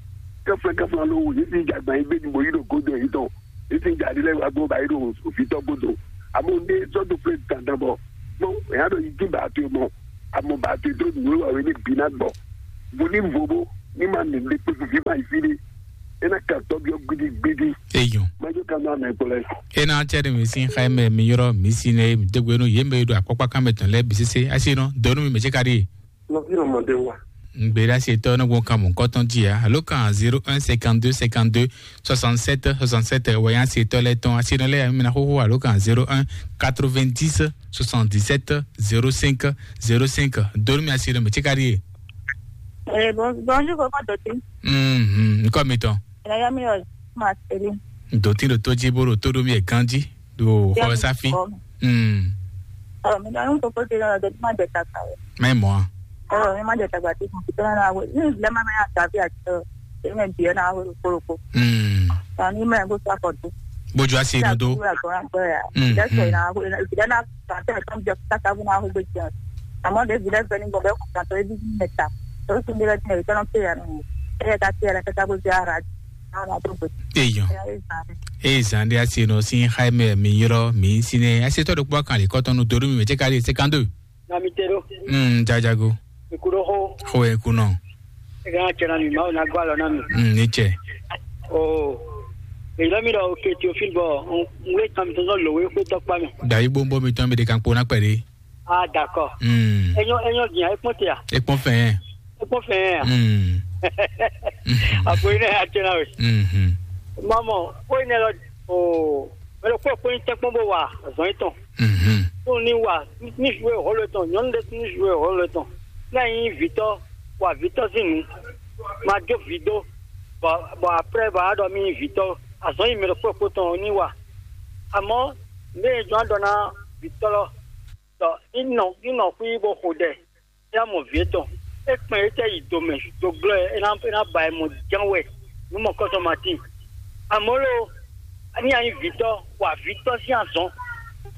Kafla kafla lo wo yesi jagba yi be ni mo yi ɖo godo yi tɔn. Yesi jadi lɛ wa gbɔ ba yi ɖo ofitɔ godo. Amo ne sɔ do fle dandan bɔ. Mo ya ɖo yi ti ba to mɔ. Amo ba to do nulu wa we ne bi na gbɔ. Mo ni vo bo ni ma ne le kpe fi ma yi fi de. Ena ka tɔ biɔ gbidi gbidi. Eyɔn. Ma jo ka na mɛ kplɛ. Ena cɛ de mi sin xa mɛ mi yɔrɔ mi sin ne mi degbe no ye mɛ do akpɔkpa kan mɛ tɔn lɛ bi sese asi nɔ donu mi mɛ cɛ ka di. Nɔvi ɔmɔdé wa. Ŋgbéra se tɔ ne gbɔn kan mɔ kɔtɔn ji ya alo kan zéro un cinquante-deux cinquante-deux soixante-sept soixante-sept wɛ yan se tɔ lɛ tɔn asi nɔ lɛ ya mi na xoxo alo kan zéro un quatre-vingt-dix soixante-dix-sept zéro cinq zéro cinq. Donu mi asi nɔ mi tsi ka di ye. Eh, bon, bonjour, koko Doti. Mhm, nkɔ mi tɔn. Ina ya mi yo ma seri. Doti do to ji bo do to do mi e kan ji. Do xɔ safi. Mm. Ɔ mi dɔn koko te lɔ dɔ ma jɛ ta ka o. Mɛ mɔ a. Ɔ mi ma jɛ ta gba ti mo ti tɔn na we ni le ma ma ya ta fi a tɔ. E mɛ bi na we ko ko. Mm. Ta ni mɛ go sa ko do. Bojo asi no do. Ya ko na ko ya. Mm. That's why na we na ta ta ko je ta ta na we be ja. Amo de bi le ni go be ko ta to e bi meta. To su bi le ni ko na pe ya no. E ta pe ya ta ta go ja ra. Eyɔn. Eye zan ɖe asi nɔ sín xá mɛ mi ylɔ́ mi sín nɛ asetɔ ɖokpó kan lě kɔtɔn nú donu mi mɛ cɛ ka ɖi cinquante-deux. Na mi te ɖo. Mm, jajago. Ikú ɖo xó. Xó yɛ kú nɔ. Ega na cɛ na mi mawu na gbɔ alɔ na mi. Mm, ní cɛ. O. Èyí lɔ mi ɖɔ oke Théophile bɔ n wé kan mi tɔn sɔ lòwe xó tɔkpa mi. Dayi gbóngbó mi tɔn mi ɖe kan kpó ná kpɛ ɖe. Ah, d'accord. Mm. Enyo enyo dia ekpɔn te a? Ekpɔn fɛn. Ekpɔn fɛn a? Mm. Apo ina ya tena we. Mhm. Mamo, ko ina lo o melo ko ko in tekpɔn bo wa zɔn iton. Mhm. Ko ni wa ni jouer rôle ton, nyon de ni jouer rôle ton. Na yin vitɔ wa vitɔ sinu. Ma jo vido. Bon, bon après ba do mi vitɔ. Azɔn yi melo ko ko ton ni wa. Àmọ́ ní ìjọ àdọ́nà vitɔ lɔ. Tɔ inɔ inɔ xwí bó xo ɖɛ. Ya mɔ vǐ etɔn. É kpɛn é tɛ yi do mɛ do glɔ́ ɛ é ná é ná ba ɛ mɔ ján wɛ. Nú mɔ kɔ́tɔn ma tín. Àmọ́ lo ní a nyí vǐtɔ́ wa vǐtɔ́ sín azɔn.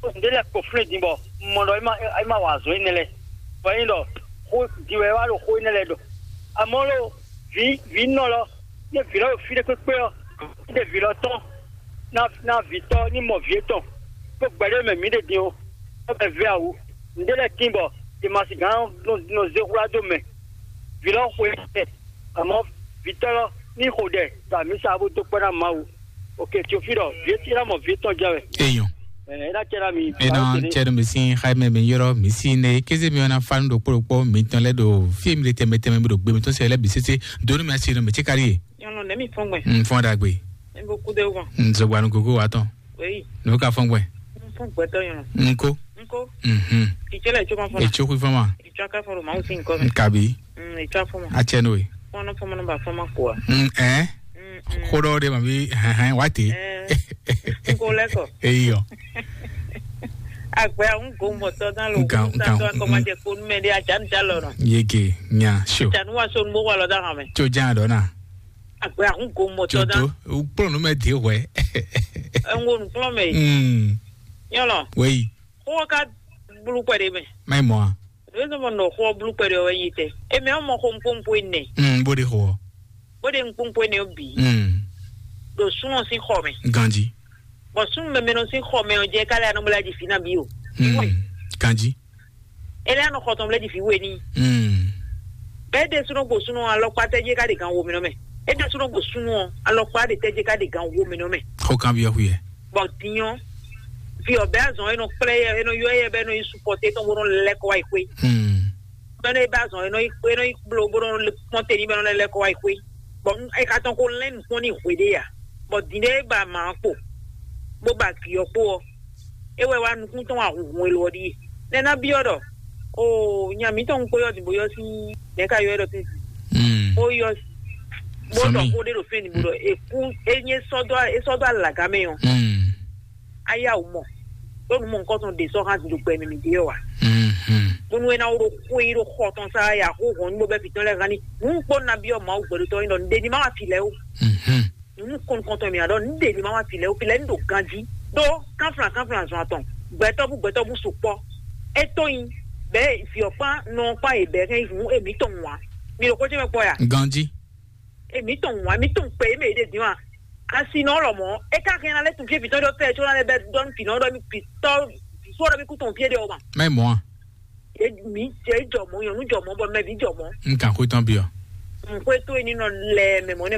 Ɖé lɛ kpo flɛ́n din bɔ un mɔ ɖɔ é má é má wa azɔn énɛ́ lɛ. Bɔ é nyí ɖɔ xó din wɛ é wá ɖo xó énɛ́ lɛ ɖɔ. Àmọ́ lo vǐ vǐ nɔ lɔ ní vǐ lɔ ɖo fí ɖé kpékpé ɔ́, ní ɖe vǐ lɔ tɔn ná ná vǐtɔ́ ní mɔ vǐ etɔn. Kó gbɛɖé mɛ mǐ ɖe din o. Ɔ́ bɛ vɛ awu. Nǔɖé lɛ́ɛ tín bɔ Masi gán nɔ zé hwlá dó mɛ. Vǐ lɔ xwe ɛ, àmọ́ vǐtɔ́ lɔ ní xo ɖɛ ɖo amǐsa bó dó kpɔ́ ná Mawu. Ok, Teofilɔ, vǐ etí ná mɔ vǐ etɔn jɛ wɛ. Eyɔn. Ɛ ná cɛ ná mi. Ena cɛ ɖo mi si xa mɛ mi yɔrɔ mi si ne kéze mi wana fa nu ɖokpó ɖokpó mi tɔn lɛ ɖo fi mi le tɛmɛ tɛmɛ mi ɖo gbe mi tɔn se lɛ bi sese donu mi asi ɖo mi tsi kari ye. Nyɔnu nɛ mi fɔn gbɛ. N fɔn ɖagbe. N bɛ kudo wan. N zɔgbanu gogo wa tɔn. Wei. N'o ka fɔn gbɛ. N fɔn gbɛtɔ nyɔnu. N ko. N ko. Mhm. Kìtsɛ lɛ tso ma fɔn na. Etso kui fɔn ma. Kìtsɛ aka fɔn ma o si nkɔ mɛ. N kabi. Mm, etso afɔn ma. Atsɛ n'o ye. Fɔn fɔn ma ba fɔn ma ko wa. N ɛ. Mm, mm. Xo ɖɔ de ma bi hɛn hɛn wa te. Eh. N ko lɛ kɔ. Eyɔ. Agbɛ ahun go mɔtɔ dan lo. Nkan nkan. Akɔmajɛ ko numɛ de ajan da lɔ nɔ. Yege nya sio. Janu wa so nubo wa lɔ da hàn mɛ. Tso jan dɔ na. Agbɛ ahun go mɔtɔ dan. Jodo, ukplɔ nu mɛ de hwɛ. Ɛngo nukplɔ mɛ. Mm. Nyɔlɔ. Wei. Xó ka blu kpɛ de mɛ. Mai mɔ a. Ɖo zɔn mɔ nɔ xó blu kpɛ de wɛ yi tɛ. Emi mɔ xó nkpónkpó enɛ. Mm, bo de xó. Bo de nkpónkpó enɛ bi. Mm. Ɖo sunɔ si xɔ mɛ. Ganji. Bɔ sunɔ mɛmɛ nɔ si xɔ mɛ ɔ jɛ kálí anɔ bla ji fi na bi o. Mm. Ganji. Ele anɔ xɔ tɔn bla ji fi we ni. Mm. Bɛɛ de sunɔ gbo sunɔ alɔkpa tɛ jɛ ká de gan wo mi nɔ mɛ. E de sunɔ gbo sunɔ alɔkpa de tɛ jɛ ká de gan wo mi nɔ mɛ. Xó kan bi ɔ xuyɛ. Bɔ dinyɔ fi ɔbɛ azɔn enɔ kplɛ yɛ enɔ yɔ yɛ bɛ enɔ yi supɔte tɔn bó nɔ lɛ kɔ wa yi xwe. Hmm. Bɛ enɔ yi bɛ azɔn enɔ yi enɔ yi kplo bó nɔ kpɔn te ni bɛ enɔ lɛ lɛ kɔ wa yi xwe. Bɔn e ka tɔn ko lɛn nukpɔn ni hwe de ya. Bɔn din de ba ma kpo bó ba giyɔ kpo ɔ. E wɛ wa nukun tɔn wa hunhun elo ɔ ɖi. Nɛ na biɔ ɖɔ o nya mitɔn kpo yɔ din bo yɔ si nɛ ka yɔ ɖɔ tɛn. Hmm. Bó yɔ bó dɔ ko de ɖo fɛn ni bo ɖɔ eku enye sɔdɔ esɔdɔ alaga mɛ ɔ. Hmm. Aya wò mɔ. Ɖó nu mɔ nukɔn tɔn ɖe sɔ hã ɖo gbɛ mɛ mi ɖe ɔ wa. Mhm. Bónú é ná wó ɖó xwé yi ɖó xɔ tɔn sá ya xó hɔn ní bó bɛ́ fǐtɔ́n lɛ́ɛ gán ní. Nǔ kpó nabí ɔ́ Mawu gbɛɖotɔ́ nyí ɖɔ nǔɖé ní má wá fi lɛ́ɛ ó. Mhm. Nǔ kɔn nukɔn tɔn mì ná ɖɔ nǔɖé ní má wá fi lɛ́ɛ ó, fi lɛ́ɛ ní ɖo ganjí. Ɖó kánflán kánflán zɔn atɔn, gbɛtɔ́ bú gbɛtɔ́ bú sukpɔ́. É tó nyi bɛ̌ vǐ ɔ́ kpán nɔ ɔ́ kpán yě bɛ̌ hɛn yi hǔn émítɔn wǎn. Mi ɖo xó ce mɛ kpɔ́ ya? Ganjí. Èmi tɔn wá, èmi tɔn kpɛ, èmi èdè dín wa. Asi nɔ lɔ mɔ, e ka hɛn na lɛ tun fie fitɔ ɖɔ fɛ, tso na lɛ bɛ dɔn fi nɔ ɖɔ mi fitɔ, fo ɖɔ mi ku tɔn fie ɖe o ma. Mɛ mɔ a? E mi, e jɔ mɔ, nyɔnu jɔ mɔ, bɔ mɛ bi jɔ mɔ. N kan xwe tɔn bi ɔ. N xwe to eni nɔ lɛ mɛ mɔ ne